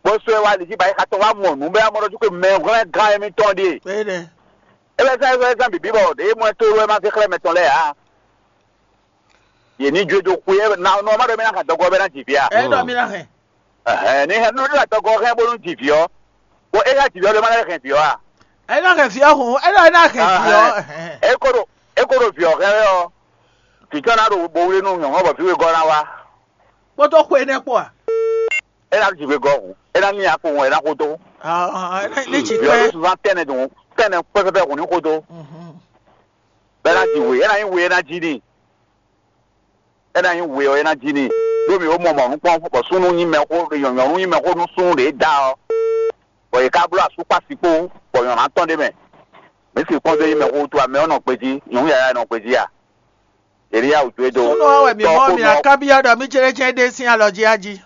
Bó sɔ́ ɛ wá ali jí ba é xa tɔn wá mɔ nǔ bɛ́ amɔ ɖɔ jú ke mɛ hwlɛ́n gán émítɔn ɖíe. Énɛ́. É bɛ́ zán é zán bǐbí bɔ ɖě mɔ ɛ tlóló wɛ ma zé xlɛ́ mɛ tɔn lɛ́ɛ ǎ. Yě ní jó do xwé ɛ na nɔ ma ɖɔ mɛ ná xa dɔgɔ bɛ́ ná jǐ vǐ a. Ɛ ɖɔ mi ná hɛn. Ɛhɛn ní hɛn nɔ ní adɔgɔ hɛn bónú jǐ vǐ ɔ́. Bɔ é ná jǐ vǐ ɔ́ lé ma ná hɛn vǐ ɔ́ a. Ɛ ná hɛn vǐ ɔ́ hǔn, ɛ ná ɛ ná hɛn vǐ ɔ́. Ɛhɛn. É kó ɖo é kó ɖo vǐ ɔ́ hɛn wɛ ɔ́. Vǐ tɔn ná ɖo bo wlé nú nyɔ̌nu ɔ́ bɔ vǐ wegɔ́ ná wá. Kpódó xwe énɛ́ kpó a? É ná ɖo jǐ wegɔ́ hǔn. É ná ní akpo hǔn é ná xódó. Ní jǐ Vǐ ɔ́ kpɛ́. Ɖó suzán tɛnɛ dùn tɛnɛ pɛpɛpɛ hǔn ní xódó. Bɛ́ ná ji wě, é ná nyí wě é ná jí n'i. É ná nyí wě ɔ́ é ná jí n'i. Ɖó mǐ ó mɔ mɔ̌ nukpɔ́n bɔ súnnu nyí mɛxó nyɔ̌nu nyí mɛxó nú súnnu ɖě da ɔ́. Bɔ yě ká bló asúkpási kpó bɔ nyɔ̌nu atɔ́n ɖé mɛ. Mǐ sixú kpɔ́n dó nyí mɛxó wútu amɛ ɔ́ nɔ gbejí, nyɔ̌nu yǎyá nɔ gbejí a? Yě ní yá wǔ jó e dó. Súnnu ɔ́ wɛ mǐ mɔ mì ná kábyɔ́ ɖɔ mí jlɛ́ jɛ́n ɖé sín alɔ jí a jí.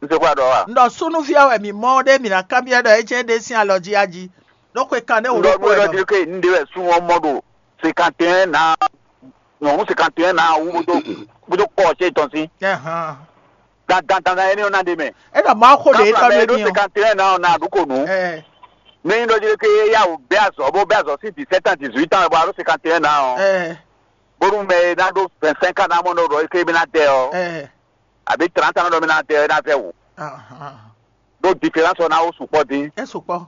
Un se xwá ɖɔ a? Un ɖɔ súnnuví ɔ́ wɛ mǐ mɔ ɖé mǐ ná kábyɔ́ ɖɔ é jɛ́n ɖé sín alɔ jí a jí. Ɖó xwe kan ɖé wò Un ɖɔ ɖokpó nú é wɛ ɖɔ nɔ. Jí ké un ɖe wɛ sun ɔ́ mɔ ɖo cinquante et un ná nyɔ̌nu cinquante et un ná wú bó dó bó dó kɔ ɔ́ cé tɔn sín. Ɛhán. Dandan dandan énɛ́ ɔ́ ná ɖe mɛ. É ɖɔ Mawu xo ɖě Káfla tɔ́ mɛ ɖé ɖó ní ɔ́. Cinquante et un ná ɔ́ ná ɖu kò nú. Ɛ. Ní nyí ɖɔ jí ké yá wò bɛ́ azɔ̌ bó bɛ́ azɔ̌ sín dix-sept ans dix-huit ans bɔ a ɖó cinquante et un ná ɔ́. Ɛ. Bónú mɛ e ná ɖó vingt-cinq ans ná mɔ ɖɔ é ké mí ná dɛ ɔ́. Ɛ. Àbí trente ans ná ɖɔ mí ná dɛ ɔ́ é ná vɛ́ wǔ. Ahán. Ɖó différence ɔ́ ná wó sukpɔ́ dín. É sukpɔ́.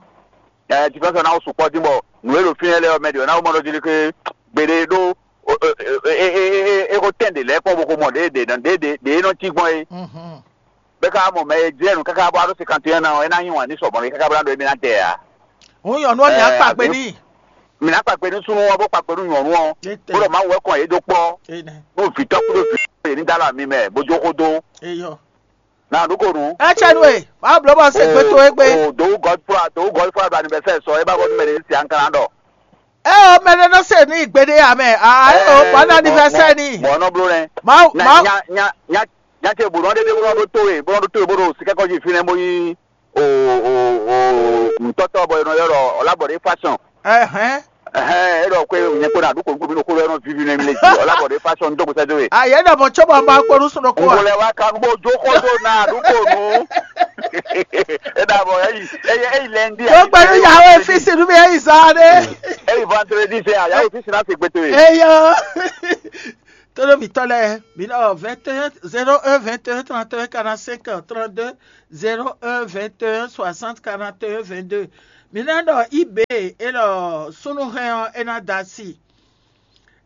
Ɛ différence ɔ́ ná wó sukpɔ́ dín bɔ nǔ e ɖo fínɛ́ lɛ́ɛ ɔ́ mɛ ɖě ɔ́ ná wó mɔ ɖɔ jí ké gbeɖé ɖó é ko tɛn ɖě lɛ́ɛ kpɔ́n bó ko mɔ ɖě ɖě ɖě ɖě é nɔ cí gbɔn é. Mhm. Bɛ́ ká mɔ mɛ e jlɛ́ nǔ káká bó wá ɖó cinquante et un ɔ́ é ná yí wǎn ní sɔ mɔ̌ káká bó ná ɖɔ émí ná tɛ ǎ. Hǔn nyɔ̌nu ɔ́ mǐ ná Ɛ, kpa gbe àbí? N'i. Mǐ ná kpa gbe nú súnnu ɔ́ bó kpa gbe nú nyɔ̌nu ɔ́. Étɛ́. Bó ɖɔ Mawu wɛ kɔn yě dó kpɔ́. Énɛ́. Nú vǐ tɔ́ kúdó vǐ yě ní dó alɔ mi mɛ bó jó xó dó. Eyɔ. Ná ɖu kò nú. É cɛ nú e, má bló bɔ se gbe towe gbe. O dǒwú gɔ́dfúra dǒwú gɔ́dfúra ɖo anivɛsɛ́ sɔ é bá bɔ nú mɛ ní si anklan ɖɔ. É o mɛ ɖé nɔ se ní gbeɖé amɛ. Ah, é o bɔ ní anivɛsɛ́ ní. Mɔ̌ nɔ bló nɛ. Má má. Nya nya nya nya ce bǔ nɔ ɖe ɖe bó nɔ ɖó tó e bó nɔ ɖó tó e bó ɖo sikɛkɔ́ jí fínɛ́ bó yí o o o nǔtɔ́tɔ́ bɔ è nɔ ylɔ́ ɖɔ ɔlá bɔ ɖé fashion. Ɛhɛn. Ɛhɛn, é ɖɔ kó nyɛ kpó ná ɖu kò nukún mi ɖo kó lɔ nɔ vivi nɛ mi lé jí ɔlá bɔ ɖé fashion dó gbèsè dó e. Ayé ɖɔ mɔ tsɔ́ bɔ ma kpó nú sɔ́ kó. Ngolɛ wa kan bó jó xó dó ná ɖu kò nú. É ɖa bɔ é yi é yi é yi lɛndi. Tó gbẹnu yàwó efisi nú mi é yi zan ɖé. É yi vendredi fɛ a yàwó efisi ná se gbètò e. Eyɔ. Tónúmítɔ́ lɛ́ɛ, mi ɖɔ vingt et un, zéro un, vingt et un, trente et un, quarante-cinq, trente-deux, zéro un, vingt et un, soixante, quarante et un, vingt-deux. Mi ná ɖɔ eBay, é ɖɔ súnnuhɛn ɔ́, é ná da asi.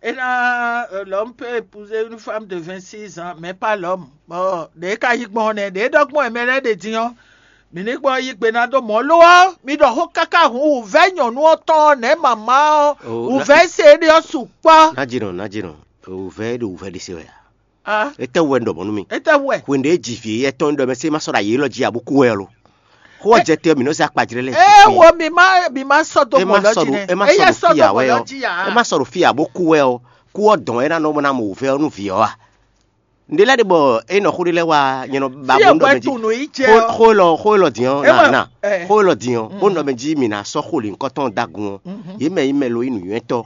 É ná, euh, l'homme peut épouser une femme de vingt-six ans, mais pas l'homme. Bon, ɖě ka yí gbɔn nɛ́, ɖě ɖɔ gbɔn mɛ lɛ́ɛ ɖe din ɔ́, mǐ ní gbɔn yí gbe ná dó mɔ̌. Lo ɔ́, mi ɖɔ xó káká hǔn wǔvɛ́ nyɔ̌nu ɔ́ tɔn ɔ́, nɛ̌ mama ɔ́, wǔvɛ́ se éɖée ɔ́ sukpɔ́. Nǎjínɔ, nǎjínɔ, wǔvɛ́ ɖo wǔvɛ́ ɖé se wɛ ǎ. Étɛ́ wɛ un ɖɔ mɔ̌ nú mi? Étɛ́ wɛ? Hwenu ɖě e ji vǐ éyɛ́ tɔn ɖɔ mɛ sé ma sɔ́ ɖo ayǐ élɔ́ jí ǎ bó kú wɛ ɔ́ lo? Xó ɔ́ jɛ te ɔ́, mǐ nɔ́ zé akpajlɛ́ lɛ́ɛ. Ee wo, mi má mi má sɔ́ dó mɔ lɔ́ jí nɛ́. É má sɔ́ ɖo fí ǎ wɛ ɔ́. É má sɔ́ ɖo fí ǎ bó kú wɛ ɔ́, kú ɔ́ dɔn é ná nɔ ná mɔ wǔvɛ́ ɔ́ nú vǐ ɔ́ a? Nǔɖé lɛ́ɛ ɖe bɔ é nɔ xó ɖé lɛ́ɛ wá nyɛ nɔ ba bó nɔ mɛ jí. Xó élɔ́ xó élɔ́ din ɔ́ na na xó élɔ́ din ɔ́ bó nɔ mɛ jí mǐ ná sɔ́ xó lǐnkɔ́tɔn dó agun ɔ́, yě mɛ nyí mɛ lo nyí nǔnywɛ́tɔ́.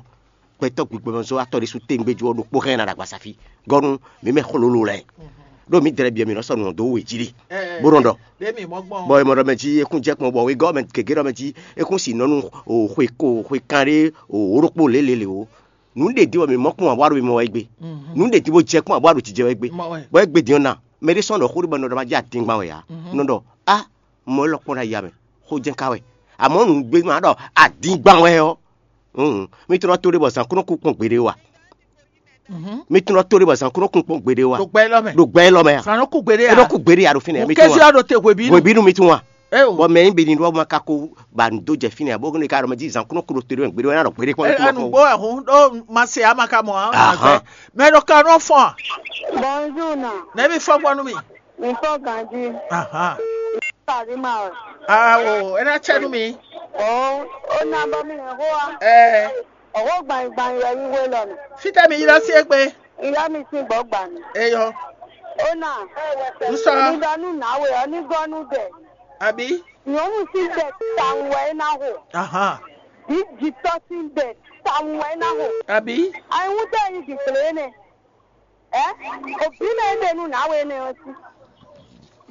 Gbɛtɔ́ gbigbɔmɔzɔ́watɔ́ ɖésú téngbé jí ɔ́ ɖokpó hɛn ná ɖo agbasafi gɔ́ nú mǐ mɛ xlolo lɛ́ɛ. Ɖó mǐ dlɛ́ byɔ́ mǐ nɔ sɔ́ nǔ ɔ́ dó we jí ɖe, bó nɔ ɖɔ. Bɔ è mɔ ɖɔ mɛ jí é kún jɛ kpɔ́n, bɔ wegɔ́ mɛ gěgé ɖɔ mɛ jí é kún si nɔ nú xwe ko xwe kanɖé wǒ ɖokpó lělělě ó. Nǔ ɖě din bɔ mǐ mɔ kpɔ́n ǎ bó wá ɖo mimɔ wɛ gbé. Nǔ ɖě din bó jɛ kpɔ́n ǎ bó wá ɖo jijɛ wɛ gbé. Bɔ é gbé din ɔ́ na, mɛ ɖé sɔ́ nɔ xó ɖé bɔ è nɔ ɖɔ ma jí adingban wɛ ǎ. Nɔ ɖɔ á, mɔ élɔ́ kpɔ́n ɖo aya mɛ, xó jɛ́n ka wɛ. Amɔ̌ nǔgbé ma ɖɔ adingban wɛ ɔ́, mi tunɔ to ɖé bɔ zǎn kún nɔ kú kpɔ́n gbeɖé wa. Mi tunɔ to ɖé bɔ zǎn kún nɔ kún kpɔ́n gbeɖé wa. Ɖo gbɛ élɔ́ mɛ. Ɖo gbɛ élɔ́ mɛ a? Zǎn nɔ kú gbeɖé a? É nɔ kú gbeɖé a ɖo fínɛ́. Mo mi tún kɛsí wa. Ɔ́ ɖo te hwebí nu. Hwebí nu mi tún wa. Bɔ mɛ nyí bini ɖɔ ma ka ko ba nǔ dó jɛ fínɛ́ a bó ne ka ɖɔ mɛ jí zǎn kún nɔ kú ɖo te ɖó mɛ gbeɖé wa é ná ɖɔ gbeɖé kpɔ́n. Ɛ anu gbó ɛhún ɖó ma se ama ka mɔ a. Mɛ ɖo ka nɔ fɔn a. Bonjour na. Nɛbi fɔ gbɔ nú mi. Mi fɔ ganji. Ahan. Tàbí ma o. Awo, é ná tsɛ nú mi. O, ó ná bɔ mi hɛn xó wa. Ɛɛ. Ọ̀wọ́ gbànyìngbànyìn wɛ yí wé lɔ nù. Fítɛ́ mi ylɔ́ sí égbé. Ylɔ́ mi sín gbɔ̌ gbà mí. Eyɔ. Ó nà. Ń sɔ. Mi ɖɔ nú nǎwe ɔ́ ní gɔ́ nú dɛ. Àbí? Nyɔ̌nu sín dɛ tawun wɛ é ná xo. Ahan. Bí jǐtɔ́ sín dɛ tawun wɛ é ná xo. Àbí? Ayihún tɛ nyi dǐgblé énɛ́. Ɛ? Òbí mɛ é ɖe nú nǎwe énɛ́ ɔ́ sí.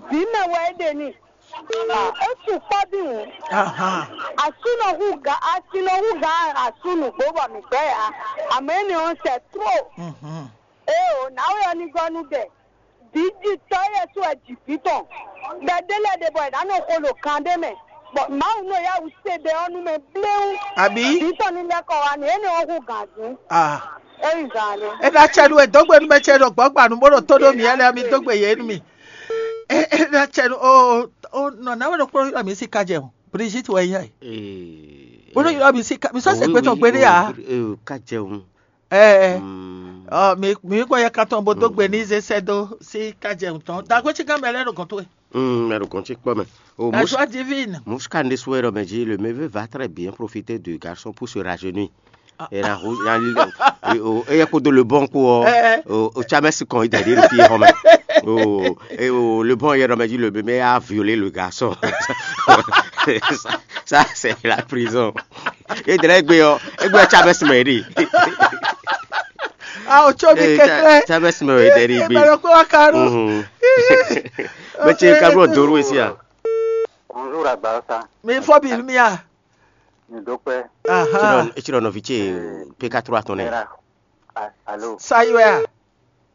Vǐ mɛ wɛ é ɖe n'i. É sukpɔ́ dín hǔn. Ahan. Asú nɔ hú gǎn, asi nɔ hú gǎn asú nǔgbó bɔ mǐ gbɛ́ ǎ. Amɔ̌ énɛ́ ɔ́ sɛ tró. Mhm. Éeǒ, nǎwe ɔ́ ní gɔ́ nú ɖɛ. Vǐjitɔ́ éyɛ́ sú wɛ ji vǐ tɔn. Ɖɔ ɖé lɛ́ɛ ɖe bɔ è nǎ nɔ xo ɖo kan ɖé mɛ. Bɔ Mawu nɔ yá wǔ se ɖɛ ɔ́ nú mɛ bléwún. Àbí? Vǐ tɔn ní lɛ́ kɔ wá nǔ énɛ́ ɔ́ hú gǎn dín. Ah. É yi gǎn ɖé. É ná cɛ nú we dó gbe nú mɛ ce ɖo gbɔ̌gbanu bó ɖo tó ɖó mǐ lɛ́ɛ, mi dó gbe yě nú mì. É é ná cɛ nú ó ó nɔ nǎwe ɖokpó ylɔ́ mǐ sí kájɛ o. Brigitte wɛ nyí a? Ee, Bó ɖo ylɔ́ mǐ sí ká mǐ sɔ́ se gbɛtɔ́ gbeɖé ǎ. Ká jɛ o. Ɛɛ, Mm. Ɔ, mi mi kɔ yɛ katɔn bo dó gbe ní zé sɛ́ dó sí kájɛ tɔn. Dagbe cí gán mɛ lɛ́ ɖo gɔn towe. Mm, mɛ ɖo gɔn cí kpɔ mɛ. O La mus joie divine. Musika ɖésú wɛ ɖɔ mɛ jí le mɛ va très bien profiter de garçon pour se rajeunir. Ah. Et la roue la li o eye kpodo le bon ko o o chamesi kan ida de le fie home. O e o le bon yɛ ɖɔ mɛ jí le mɛ a violer le garçon. Ça, ça c'est la prison. E dlɛ egbe ɔ egbe ɔ chamesi mɛ ɖi. Ah, o tso mi kɛkɛ. Chamesi mɛ ɖi egbe. Mɛ ɖo kpé wa ka ɖo. Mɛ tse ka ɖo doro esi a. Bonjour Agbaza. Mi fɔ bi mi a. Mi dó pẹ́. Aha. Etsirɔ nɔvi ce P K trois tɔn nɛ. Era. A- Alo. Sayi wɛ a.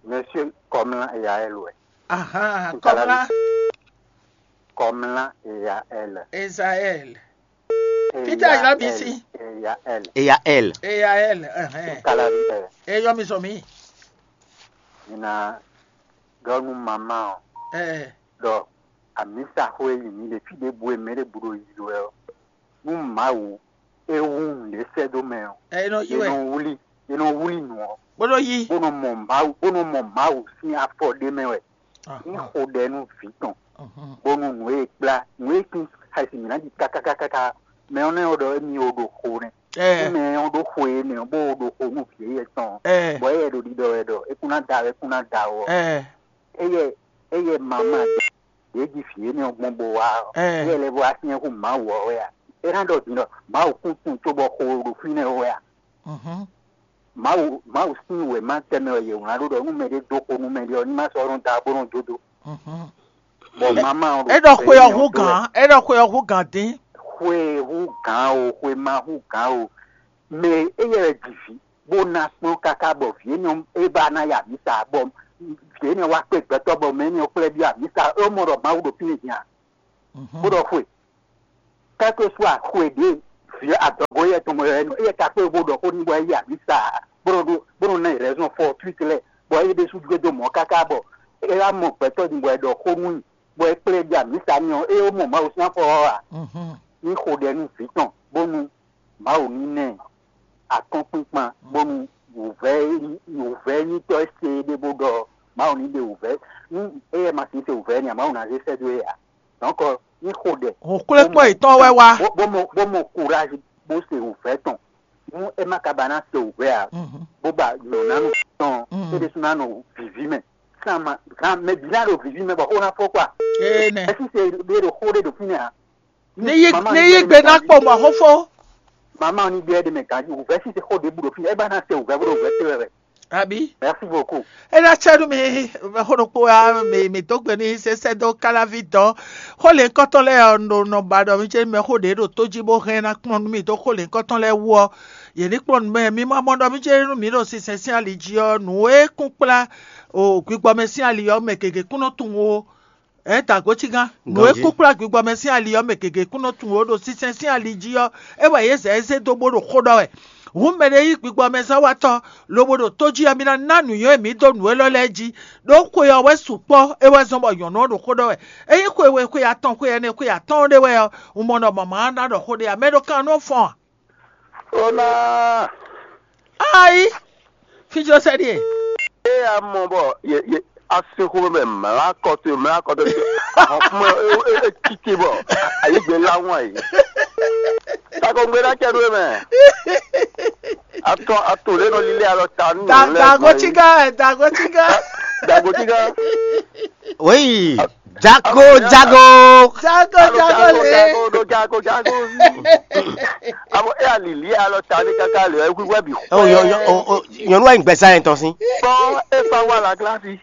Monsieur Kɔmla Yael wɛ. Aha. Kɔmla. Kɔmla Yael. Ezael. Peter Ayɔbisi. Yael. Eya L. Eya L. Ɛhɛn. Kalavi ɛ. Eyɔ mi sɔ mi. Mi na ɖɔ nú mama ɔ. Ɛɛ. Ɖɔ amisa xó e yi mi ɖe fí ɖěbǔ e mɛ ɖěbǔ ɖo yi wɛ ɔ. Nú Mawu é wú nǔɖé sɛ́ dó mɛ ɔ. Ɛ e nɔ yi wɛ. È nɔ wlí è nɔ wlí nǔ ɔ. Bó nɔ yi. Bó nɔ mɔ Mawu bó nɔ mɔ Mawu sín afɔ ɖé mɛ wɛ. Ní xo ɖɛ nú vǐ tɔn, bónú nǔ e è kplá nǔ e kún xɛsi mǐ ná ɖi káká káká mɛ ɔ́ nɛ́ ɔ́ ɖɔ émí ó ɖo xo nɛ́. Nú mɛ ɔ́ ɖó xo énɛ́ ɔ́, bó o ɖo xo nú vǐ éyɛ́ tɔn ɔ́, bɔ éyɛ́ ɖo ɖiɖɔ wɛ ɖɔ é kún ná da wɛ é kún ná da wɔ. Éyɛ́ éyɛ́ mamá ɖě jí vǐ énɛ́ ɔ́ gbɔn bó wá ɔ́, éyɛ́ lɛ́ bó wá syɛ́n hú Mawu ɔ́ wɛ a? É ná ɖɔ din ɖɔ Mawu kún tunwun cóbɔ xo ɖo fínɛ́ wɛ a? Mawu Mawu sín wěma tɛnmɛ wɛ yě wlán ɖó ɖɔ nú mɛɖé dó xo nú mɛɖé ɔ́, ní má sɔ́ nɔ da bó nɔ jó dó. Bɔ mama ɔ́ ɖo É ɖɔ xwe ɔ́ hú gǎn, é ɖɔ xwe ɔ́ hú gǎn dín. Xwe hú gǎn o, xwe ma hú gǎn o, mɛ éyɛ́ wɛ ji vǐ. bó ná kplɔ́n káká bɔ vǐ énɛ́ ɔ́ é ba ná yi amǐsa, bɔ vǐ énɛ́ ɔ́ wá kpé gbɛtɔ́ bɔ mɛ énɛ́ ɔ́ xlɛ́ byɔ́ amǐsa, é mɔ ɖɔ Mawu ɖo fínɛ́ din a? Bó ɖɔ xwe. Kɛ́kɛ́ sú axwe ɖě vǐ adɔgo éyɛ́ tɔn mɔ é nɔ éyɛ́ ka kpé bó ɖɔ xó n'i bɔ é yi amǐsa, bó nɔ ɖó bó nɔ ná ɛ rɛzɔn fortuite lɛ́ɛ, bɔ é ɖésú jló dó mɔ̌ káká bɔ é wá mɔ gbɛtɔ́ din bɔ è ɖɔ xó nú i, bɔ é kplé ɖi amǐsa n'i ɔ́, é mɔ Mawu sín afɔ ɔ́ ǎ. Ní xo ɖɛ nú vǐ tɔn bónú Mawu ní ná ɛ akɔ́nkpinkpan bónú wǔvɛ́ wǔvɛ́nyítɔ́ e se é ɖé bó ɖɔ Mawu ní ɖe wǔvɛ́. Nú éyɛ́ ma sixú se wǔvɛ́ n'i ǎ, Mawu ná zé sɛ́ dó e ǎ. Donc ní xo ɖɛ. Hǔnxwlékpɔ́ yětɔn wɛ wá. Bó mɔ bó mɔ courage bó se wǔvɛ́ tɔn. Nú é ma ka ba ná se wǔvɛ́ ǎ, bó ba nyɔ̌nánu tɔn é ɖésú ná nɔ vǐví mɛ. Sán ma gán mɛ bǐ ná ɖo vǐví mɛ bɔ xó ná fɔ kpá. Énɛ́. Ɛsí se ɖé ɖo xó ɖé ɖo fínɛ́ ǎ. Ní yí ní yí gbe ná kpɔ mɔ̌ xó fó. Mama ɔ́ ní ɖe ɖe mɛ ganjí wǔvɛ́ sísè xó ɖěbǔ ɖo fínɛ́, é ba ná se wǔvɛ́ bó ɖo wǔvɛ́ se wɛ wɛ. Abi. Merci beaucoup. É ná cɛ nú mi xó ɖokpó wá mi mi dó gbe ní sésɛ dó káláví dɔn. Xó lě ŋkɔtɔn lɛ́ɛ ɔ́ nɔ nɔ ba ɖɔ mí cé mɛ xó ɖě ɖo tó jí bó hɛn ná kplɔ́n nú mì dó xó lě ŋkɔtɔn lɛ́ɛ wú ɔ́, yě ní kplɔ́n nú mɛ. Mi ma mɔ ɖɔ mí cé nú mǐ ɖo sinsɛn sín ali jí ɔ́, nǔ e kún kplá o gbígbɔ́ mɛ sín ali ɔ́ mɛ gěgé kún nɔ tunwun ó. Ɛ da gǒ cígán. Nǔ e kún kplá gbígbɔ́ mɛ sín ali ɔ́ mɛ gěgé kún nɔ tunwun ó ɖo sinsɛn sín ali jí ɔ́, é wɛ yě zɛ ɛ zé dó bó ɖo xó ɖɔ wɛ. Hǔn mɛɖé yí gbígbɔ́ mɛ zán wá tɔ́, lobo ɖo tó jí ɔ́, mi ná ná nǔnywɛ́ mǐ dó nǔ élɔ́ lɛ́ɛ jí, ɖó xwe ɔ́ wɛ sukpɔ́ é wɛ zɔ́n bɔ nyɔ̌nu ɔ́ ɖo xó ɖɔ wɛ. Ényí xwe we xwe atɔn xwe ɛnɛ xwe atɔ́ɔ́n ɖé wɛ ɔ́, un mɔ ɖɔ mɔ̌ ma ná ɖɔ xó ɖé ǎ, mɛ ɖo kan nɔ fɔ́n ǎ. Ó ná. Ayi, fí jló sɛ ɖíe. Ée a mɔ bɔ ye ye asixo mɛ mlá kɔtɔn mlá kɔtɔn ahɔn fún ɛ ɛ ɛ títí bɔ ayigbe lá wọn yi. Takɔngbe ná cɛ nú eme. Atɔ ato lé nɔ lílé alɔ ta nù lɛ. Dago tiga, dago tiga. Dago tiga. Oui. Jago, jago. Jago, jago le. Jago, jago, jago. Abo e alili alɔ ta ni kaka le ɛ wíwá bi. Oh, yɔ yɔ o o nyɔnu wa gbɛsa yẹn tɔn si. Bɔn e fa wa la glasi.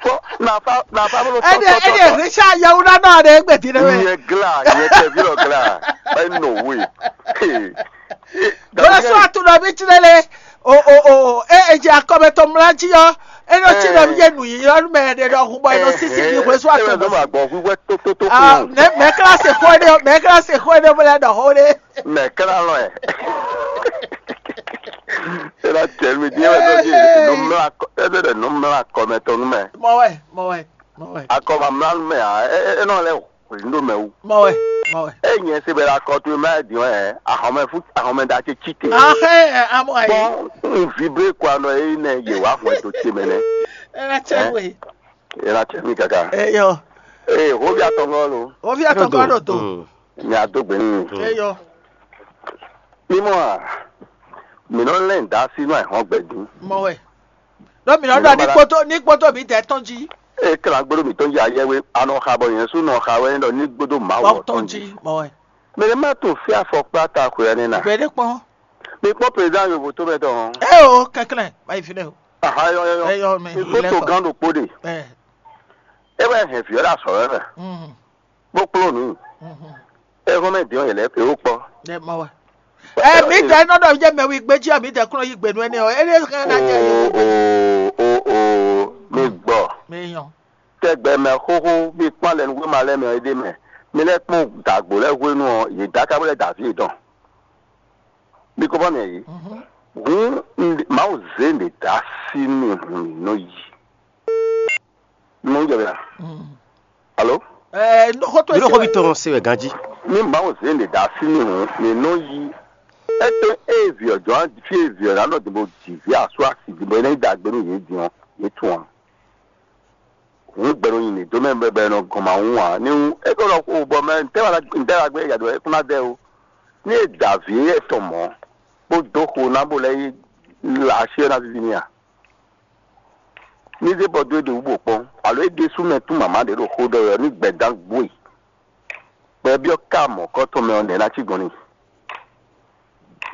Bɔn nafa nafa bolo tɔtɔ. Ɛdi ɛdi Richard yawuna náà de gbèdì ne mɛ. Yɛ gla yɛ tɛ vi lɔ gla. Ɛ nɔ we. Bolo sɔ atu nɔ bi tirɛ le. O o o e e dze akɔmɛ tɔn mla jí ɔ́, e nɔ cí nɔ yé nu yi ɔ́ mɛ ɖe ɖɔ hun bɔ e nɔ sisi yi hwesú atɔn bɔ. Nɔ ma gbɔ wíwɛ tótótó fún un. Mɛ kílásì xó ɖé mɛ kílásì xó ɖé bó lɛ ɖɔ xó ɖé. Mɛ kílá lɔ ɛ. E la tẹ mi dín wɛ tó di numla ɛ bɛ dɛ numla kɔmɛ tɔn nu mɛ. Mɔ wɛ mɔ wɛ mɔ wɛ. Akɔmɛ mla nu mɛ a e e nɔ lɛ o. Hwenu ɖo mɛ wú. Mɔ wɛ, mɔ wɛ. Ényɛ se bɛ la kɔ to ma din wɛ ahɔnmɛ fún ahɔnmɛ da ce ci te. Ahɛ amɔ ayi. Bɔn n vibre kɔ anɔ eyi nɛ ye wa hɔn to ce mɛ nɛ. Ela cɛ we. Ela cɛ mi kaka. Eyɔ. Ee hovi atɔngɔ lo. Hovi atɔngɔ lo to. Mi a do gbe nu. Eyɔ. Mímɔ a, mǐ nɔ lɛn da sí nú ayǐhɔ́ngbe dín. Mɔ wɛ. Ɖó mǐ nɔ ɖɔ ní kpótó ní kpótó mǐdɛɛ tɔn jí. Ée klágbéɖó mǐtɔn jí ayɛwé a nɔ xa bɔ nyɛ sú nɔ xa wɛ ɖɔ ní gbódó Mawu Bɔ ɔ́ tɔn tɔn jí. Jí. Mɔ wɛ. Mɛ ɖé má tunwun fí afɔkpá ta xwe ɔ́ nɛ́ na. Gbe ɖé kpɔ́n. Mi kpɔ́n prezidán yovo tó mɛ tɔn. Ɛ o kɛnklɛn ma yi fi ɖe o. Aha yɔ yɔ yɔ. Ɛ yɔ mɛ. Mi kpó to gán ɖokpó ɖe. Ɛ. É wɛ hɛn vǐ ɔ́ ɖo azɔ̌ wɛ mɛ. Mm. Bó kplɔ́n nǔ. Mhm. Éhɔ́mɛ din ɔ́, yě lɛ́ kpé wó kpɔ́. Ɖe mɔ wɛ. Ɛ mi dɛ nɔ ɖɔ jɛ mɛ wi gbé jí mi dɛ kúnɔ yí gbenu ɛnɛ ɔ ɛnɛ hɛn na jɛ yɛ wi gbé. Oo oo mi gbɔ. Mi yàn. Tɛgbɛ mɛ xóxó mi kpán lɛ nugbe ma lɛ mɛ ɔ ɖe mɛ. Mi lɛ kpɔn dàgbò lɛ hwenu ɔ yě dá kábó lɛ dàví yě dɔn. Mi kó bá mɛ yìí. Hǔn Mawu zé nǔ dá sí mi hǔn mi nɔ yí. Nɔ jɛ bɛ. Alo. Ɛɛ nɔxɔtɔ Mí ɖo xó bi tɔn se wɛ ganjí. Ní Mawu zé nǔ dá sí mi hǔn mi nɔ yí. Ete eye vǐ ɔ́ jɔ́n fí e vǐ ɔ́ ná nɔ dìbò jǐ vǐ asú asi dìbò é ná yi dàgbé nú yě din ɔ́, yě tunwun. Hǔn gbɛɖo nyi mǐ dó mɛ bɛbɛ nɔ gɔn ma wún ǎ. Ní wú é ko nɔ xo bɔ mɛ ntɛ́ wá ntɛ́ wá gbé yǎdó é kún ná dɛ ó. Ní è da vǐ éyɛ́ tɔn mɔ̌, bó dó xo ná bó lɛ́ yí la asi ɔ́ ná víví n'i a? Ní zé bɔ dó é ɖe wú bó kpɔ́n, alo é ɖésú mɛ tún mǎmá ɖě ɖo xó ɖɔ wɛ ɔ́, ní gbɛ̌dán gbo e. Bɔ é byɔ́ ká mɔ̌kɔ́tɔn mɛ ɔ́ nɛ̌ ná cí gbɔn n'i?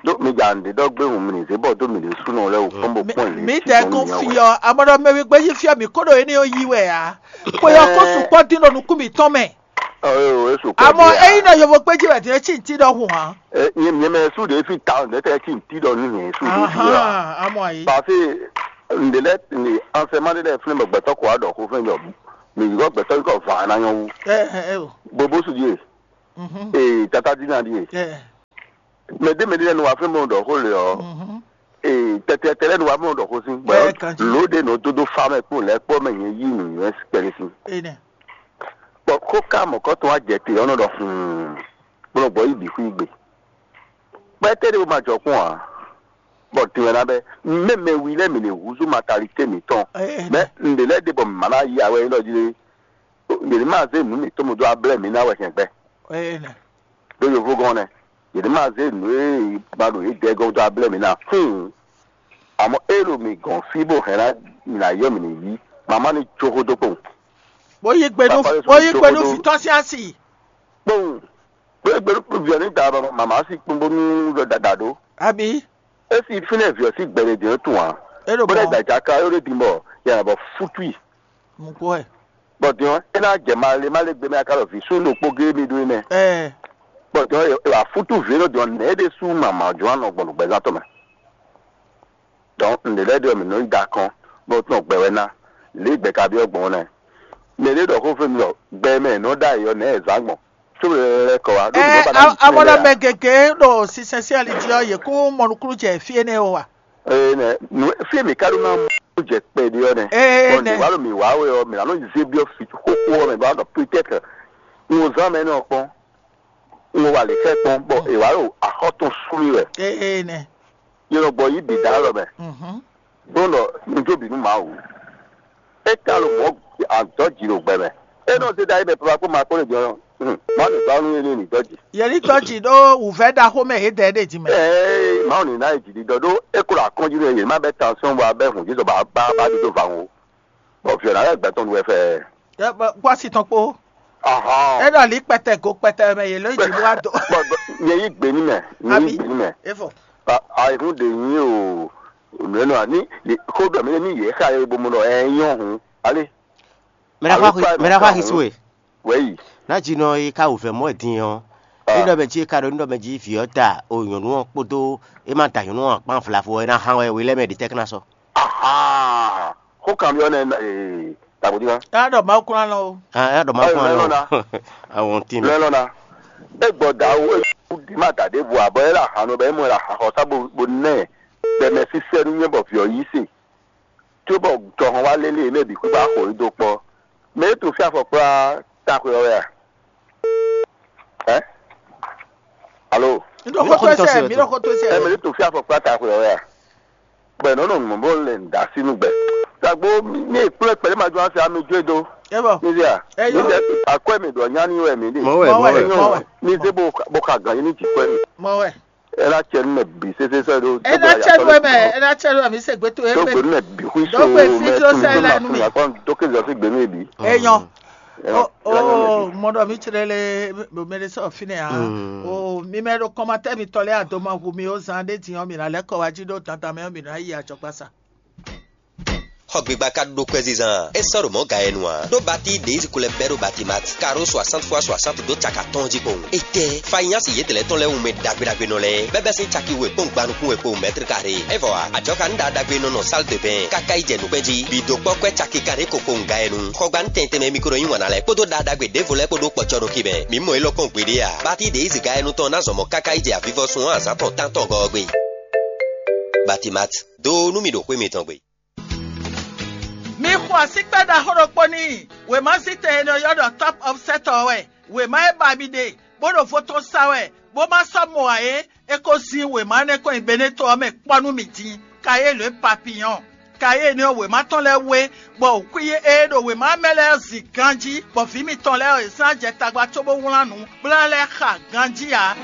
Ɖó mi ja nǔɖé ɖɔ gbé hǔn mi ní zé bɔ dó mǐ ɖésúnɔ lɛ́ɛ wú kpɔ́n bó kpɔ́n yě. Mǐ dɛkun fyɔ amɔɖɔ mɛ wígbé yí fyɔ mǐ kó ɖo énɛ́ ɔ́ yí wɛ ǎ. Xwe ɔ́ kó sukpɔ́ dín ɖo nukún mǐtɔn mɛ. Ɔ́, é sukpɔ́. Àmọ́ ényí nɔ yovó kpé jí wɛ dé cí ntí ɖɔhun hàn. Nyɛ mɛ sú ɖě fi ta ɔ́, nɛ̌ tɛ́ cí ntí ɖɔ nú nyɛ sú ɖě fi ɔ́? Àmọ́ ayé. Parce que ǹdè lɛ ni ansɛmá ɖé lɛ flɛ́n bɔ gbɛtɔ́ kɔ wá ɖɔ xó fɛn jɔ mi yǐgɔ gbɛtɔ́ yíkɔ vǎ ná nyɔ́ wú. Ɛ ɛ o. Bobo su ɖíe. Mhm. Ee, tata dina ɖíe. Ɛ. Mɛ ɖé mɛ ɖé lɛ nu wá flɛ́n bɔ ɖɔ xó le ɔ́. Mhm. Ee, tɛtɛtɛ lɛ nu wá mɔ ɖɔ xó sín. Ɛ, kan jí. Lǒ ɖé nɔ dó dó fa mɛ kpó lɛ́ kpɔ́ mɛ nyɛ yí nǔnywɛ́ kpɛɖé sín. Ene. Bɔ xó ka mɔ̌kɔtɔn wá jɛ te ɔ́ nɔ ɖɔ hǔn, bó nɔ gbɔ yí bǐ xwí gbe. Kpɛtɛ́ ɖé bó ma jɔ kpɔ́n ǎ. Bɔ din wɛ ná bɛ́ mɛmɛ wi lɛ́ɛ mǐ ní húzú matalité mǐtɔn. Ene. Mɛ ǹɖě lɛ́ɛ ɖe bɔ mǐ ma ná yí awɛ élɔ́ jí lé. Yě ní ma zé nǔ mǐtɔn mɔ dó ablɛ́ mǐ ná wɛ hɛn gbɛ. Ene. Ɖó yovógɔ́n nɛ́, yě ní ma zé nǔ e ma ɖo yě dɛɛ gɔ́n dó ablɛ́ mǐ ná. Hǔn, àmọ́ é ɖo mǐ gɔ́n fí bó hɛn ná mǐ ná yɔ mǐ ní yí. Mama ní jó xó dó kpowun. Bó yí gbe nú Papa Yésu bó yí jó gbe xó nú dó. Vǐtɔ́ sín asi. Kpowun. Bó yí gbe nú viɔ́ ní da mama sí kpowun bónú ɖɔ dada ɖó. Abi. É sì fínɛ́ viɔ́ sí gbɛɖe dě tún ǎ. É ɖo Bó dɛ mɔ. Da jaka yó ɖé din bɔ yɛ bɔ fútui. Mukpɔ́ ɛ. Bɔ din ɔ́, é ná jɛ malé malé gbe mɛ aka ɖɔ vǐ sú ɖokpó géé mi ɖó é nɛ́. Ɛ. Bɔ din ɔ́, è wǎ fútú vǐ énɔ́ din ɔ́, nɛ̌ é ɖésú mama jɔ́n anɔ gbɔn nǔgbɛzán tɔn mɛ. Dɔn ǹɖě lɛ́ɛ ɖe ɔ́, mǐ nɔ yi da kɔn, bɔ tún gbɛ wɛ ná. Lě gbɛ ka byɔ́ gbɔn ɔ́ nɛ́. Mɛ ɖé ɖɔ xó fé mi ɖɔ gbɛ mɛ è nɔ ɖó ayǐ ɔ́, nɛ̌ è zǎn gbɔn? Có mɛ lɛ́ kɔ wá. Ɛ, amɔnɔ mɛ gěgé ɖo sinsɛn sín ali jí ɔ́, yě kún mɔ nukúnnú jɛ fí énɛ́ ó wa. Ee nɛ, nǔ fí e mǐ ka ɖó ná mɔ jɛ kpɛɖé ɔ́ nɛ. Ee, bɔ nɛ. Nǔ wa ɖo mǐ wa wɛ ɔ́, mǐ ná nɔ zé byɔ́ fí xóxó ɔ́ mɛ bɔ ná ɖɔ pétɛ́tr un wo zán mɛ énɛ́ ɔ́ kpɔ́n, un wo wa lě xɛ kpɔ́n, bɔ è wǎ ɖo axɔ́ tɔn sú mì wɛ. Ee nɛ. Yě nɔ gbɔ yí bǐ dá lɔ mɛ. Mhm. Bó nɔ nu jó bǐ nú Mawu. É ka ɖo mɔ̌ adɔ̌ jǐ ɖo gbɛ mɛ. É nɔ zé ɖ'ayǐ mɛ papa kpó ma kpó lě jɔ. Mawu ní gbá nú énɛ́ ní dɔ́ jǐ. Yě ní dɔ́ jǐ ɖó wǔvɛ́ ɖaxó mɛ yě dɛ ɖe jí mɛ. Ee, Mawu ní ná yi jǐɖiɖɔ ɖó é kó ɖo akɔ́njí nú yě má bɛ́ tansɔ́n bɔ abɛ́ hǔn jǐ sɔ bɔ abá bá ɖu dó va ŋu o. Bɔ vǐ ɔ́ ná lɛ́ gbɛtɔ́ nu wɛ fɛ. Gbɔ́ asi tɔn kpó. Ahɔn. É ɖɔ lǐ kpɛtɛ go kpɛtɛ mɛ yě ló yi jǐ bó wá dó. Bɔ bɔ, nyɛ yí gbě ní mɛ, nyɛ yí Abi. Gbě ní mɛ. Efɔ. Ayihún ɖe nyí o. Nǔ énɔ́ ǎ ní xó ɖɔ mɛ ní yě xa yɛ bo mɔ ɖɔ ɛ nyɔ́ hǔn. Alé. Mɛ ɖaxó Alo axi- kpa mɛ ɖaxó mɛ axi kpa su e. Wɛ̌yi. Ná dzi nɔ e ka wǔvɛ́ mɔ wɛ din ɔ́. Ah. É ɖɔ mɛ jí é ka ɖo ní ɖɔ mɛ jí vǐ ɔ́ da o nyɔ̌nu ɔ́ kpódó é má da nyɔ̌nu ɔ́ kpán vlavo ɔ́, é ná hán wɛ we lɛ́ mɛ ɖi tɛ́ ká ná sɔ́. Aha. Xó kanbyɔ́ nɛ́ ee, tagbodíma. Ká ɖɔ Mawu kún alɔ o. Ah, é ɖɔ má Ayo, kún lɛ alɔ. Lɔna. Àwọn tí mi. Lɛ lɔna. E gbɔ da wo e ku di ma da ɖe bu abɔ e la han no bɛ e mɔ la han xɔ sa bo bo nɛ bɛ mɛ sisɛ nu nyɛ bɔ viɔ yi se. Tso bɔ tɔhɔn wa lele mɛ bi kpikpa xɔ yi do kpɔ. Mɛ e to fi afɔ kpla ta xwe ɔwɛ a? Ɛ? Alo. Mi ɖo xɔ to sɛ, mi ɖo xɔ to sɛ. Ɛ mɛ e to fi afɔ kpla ta xwe ɔwɛ a? Gbɛ nɔ nɔ mɔ bɔ le da si nu gbɛ. Tagbo mi kplɔ́ kpɛɖé ma jɔ asi ami jó do. E bɔ. Mi via. Eyo. Mi jɛ akɔe mi ɖɔ nyani wɛ mi ɖe. Mɔ wɛ, mɔ wɛ, mɔ wɛ. Mi se bo bo ka gan yi ni ti kɔe mi. Mɔ wɛ. Ela cɛ nu mɛ bi sese sɛ do. Ela cɛ nu mɛ, ela cɛ nu mɛ mi se gbe to egbe. Do gbe nu mɛ bi hui so. Do gbe fi mɛ to tun sɛ la nu mi. Akɔn do ke zɔ si gbe nu bi. Eyan. O o mɔ ɖɔ mi tsrɛ le mɛ ɖe sɔ fi nɛ a. O mi mɛ ɖo kɔmatɛ mi tɔ lɛ a do ma hu mi o zan ɖe din ɔ mi na lɛ kɔ wa ji ɖo dandan mɛ ɔ mi na yi adzɔgba sa. Xɔgbigba ka ɖo kwɛzizan e sɔ́ ɖo mɔ̌ ga e nu ǎ. Ɖó batí ɖě yi ko lɛ́ bɛ́ ɖo batimat karo soixante fois soixante dó caka tɔn jí kpowun. Étɛ́, fanyasi yětɛn lɛ́ɛ tɔn lɛ́ɛ wú mɛ ɖagbe ɖagbe nɔ lɛ́ɛ bɛ́ bɛ́ sín caki we kpɔ́n gba nukún we kpowun mɛtri kare. É vɔ ǎ, ajɔ̌ ka nú ɖa ɖagbe nɔ nɔ sál de bɛn káká yi jɛ nǔkpɛ́n jí. Bǐ dó kpɔ́ kwɛ́ caki kanɖé ko kpowun ga e nu. Xɔgba nú tɛntɛn mɛ mikro nyí wan ná lɛ́ɛ kpódó ɖa ɖagbe ɖěvo lɛ́ɛ kpó ɖó kpɔcɔ́ ɖó kí mɛ. Mǐ mɔ élɔ́ kpɔ́n gbeɖé ǎ. Batí ɖě yi zǐga e nu tɔn ná zɔn mɔ káká yi jɛ avivɔsun ɔ́ azǎn tɔn tántɔn gɔ́ ɔ́ gbe. Batimat, dó nú mì ɖo xwé mitɔn gbe. Mi xo asíkpɛ́ ɖaxó ɖokpó n'i. Wěma zítɛn e nɔ ylɔ́ ɖɔ Top Offset ɔ́ wɛ. Wěma e ba mi ɖe, bó ɖo vo tɔn sa wɛ, bó ma sɔ́ mɔ ǎ é, é ko zin wěma énɛ́ kɔn nyi Beneto ɔ́ mɛ kpɔ́ nú mi din. Kayélu e papiyɔn. Kayélu ɔ́, wěma tɔn lɛ́ɛ wé, bɔ wǔkwín e ɖo wěma mɛ lɛ́ɛ zin ganjí, bɔ vǐ mitɔn lɛ́ɛ ɔ́, è zán jɛ tagba cóbó wlán nǔ, bó ná lɛ́ xa ganjí ǎ.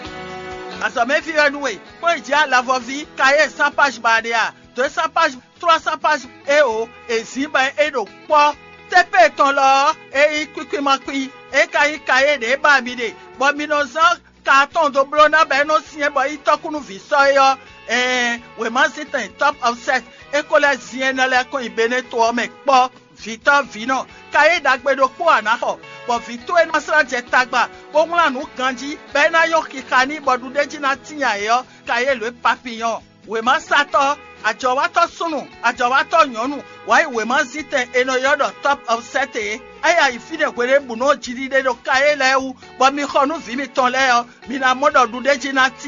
Azɔ̌mɛví wɛ nú we, kpɔ́n yi jǐ alavɔví, Kayélu zán páj ba ɖe a? Dǒ e zán páj trois cents pages eo è zǐn bɔ é ɖo kpɔ́. Tépée tɔn lɔ ɔ́, é nyí kwíkwín ma kwín, é ka nyí kayé ɖě ba mi ɖe, bɔ mi nɔ zán ka atɔn dó bló ná bɔ é nɔ syɛ́n bɔ é nyí tɔ́kúnúví sɔ́ é ɔ́. Ɛɛn, wěma zítɛn Top Offset é ko lɛ́ zin énɛ́ lɛ́ɛ kɔn nyi Beneto ɔ́ mɛ kpɔ́. Vǐtɔ́ vǐnɔ, kayé ɖagbe ɖokpó ǎ ná xɔ. bɔ vǐ towe ná slá jɛ tagba, bó wlán nǔ ganjí, bɔ é ná nyɔ́ xixa n'i, bɔ ɖuɖéjí ná tíin ayǐ ɔ́, ka yě lǒ e papiyɔ́n. Wěmasatɔ́, ajɔ̌wátɔ́ súnnu, ajɔ̌wátɔ́ nyɔ̌nu, wǎ yi wěmazítɛn è nɔ ylɔ́ ɖɔ Top of Set é. É yi ayǐ fínɛ́ hweɖěbǔnu ɔ́ jiɖiɖe ɖo ka é lɛ́ɛ wú, bɔ mi xɔ nú vǐ mitɔn lɛ́ɛ ɔ́, mi ná mɔ ɖɔ ɖuɖéjí ná tíin.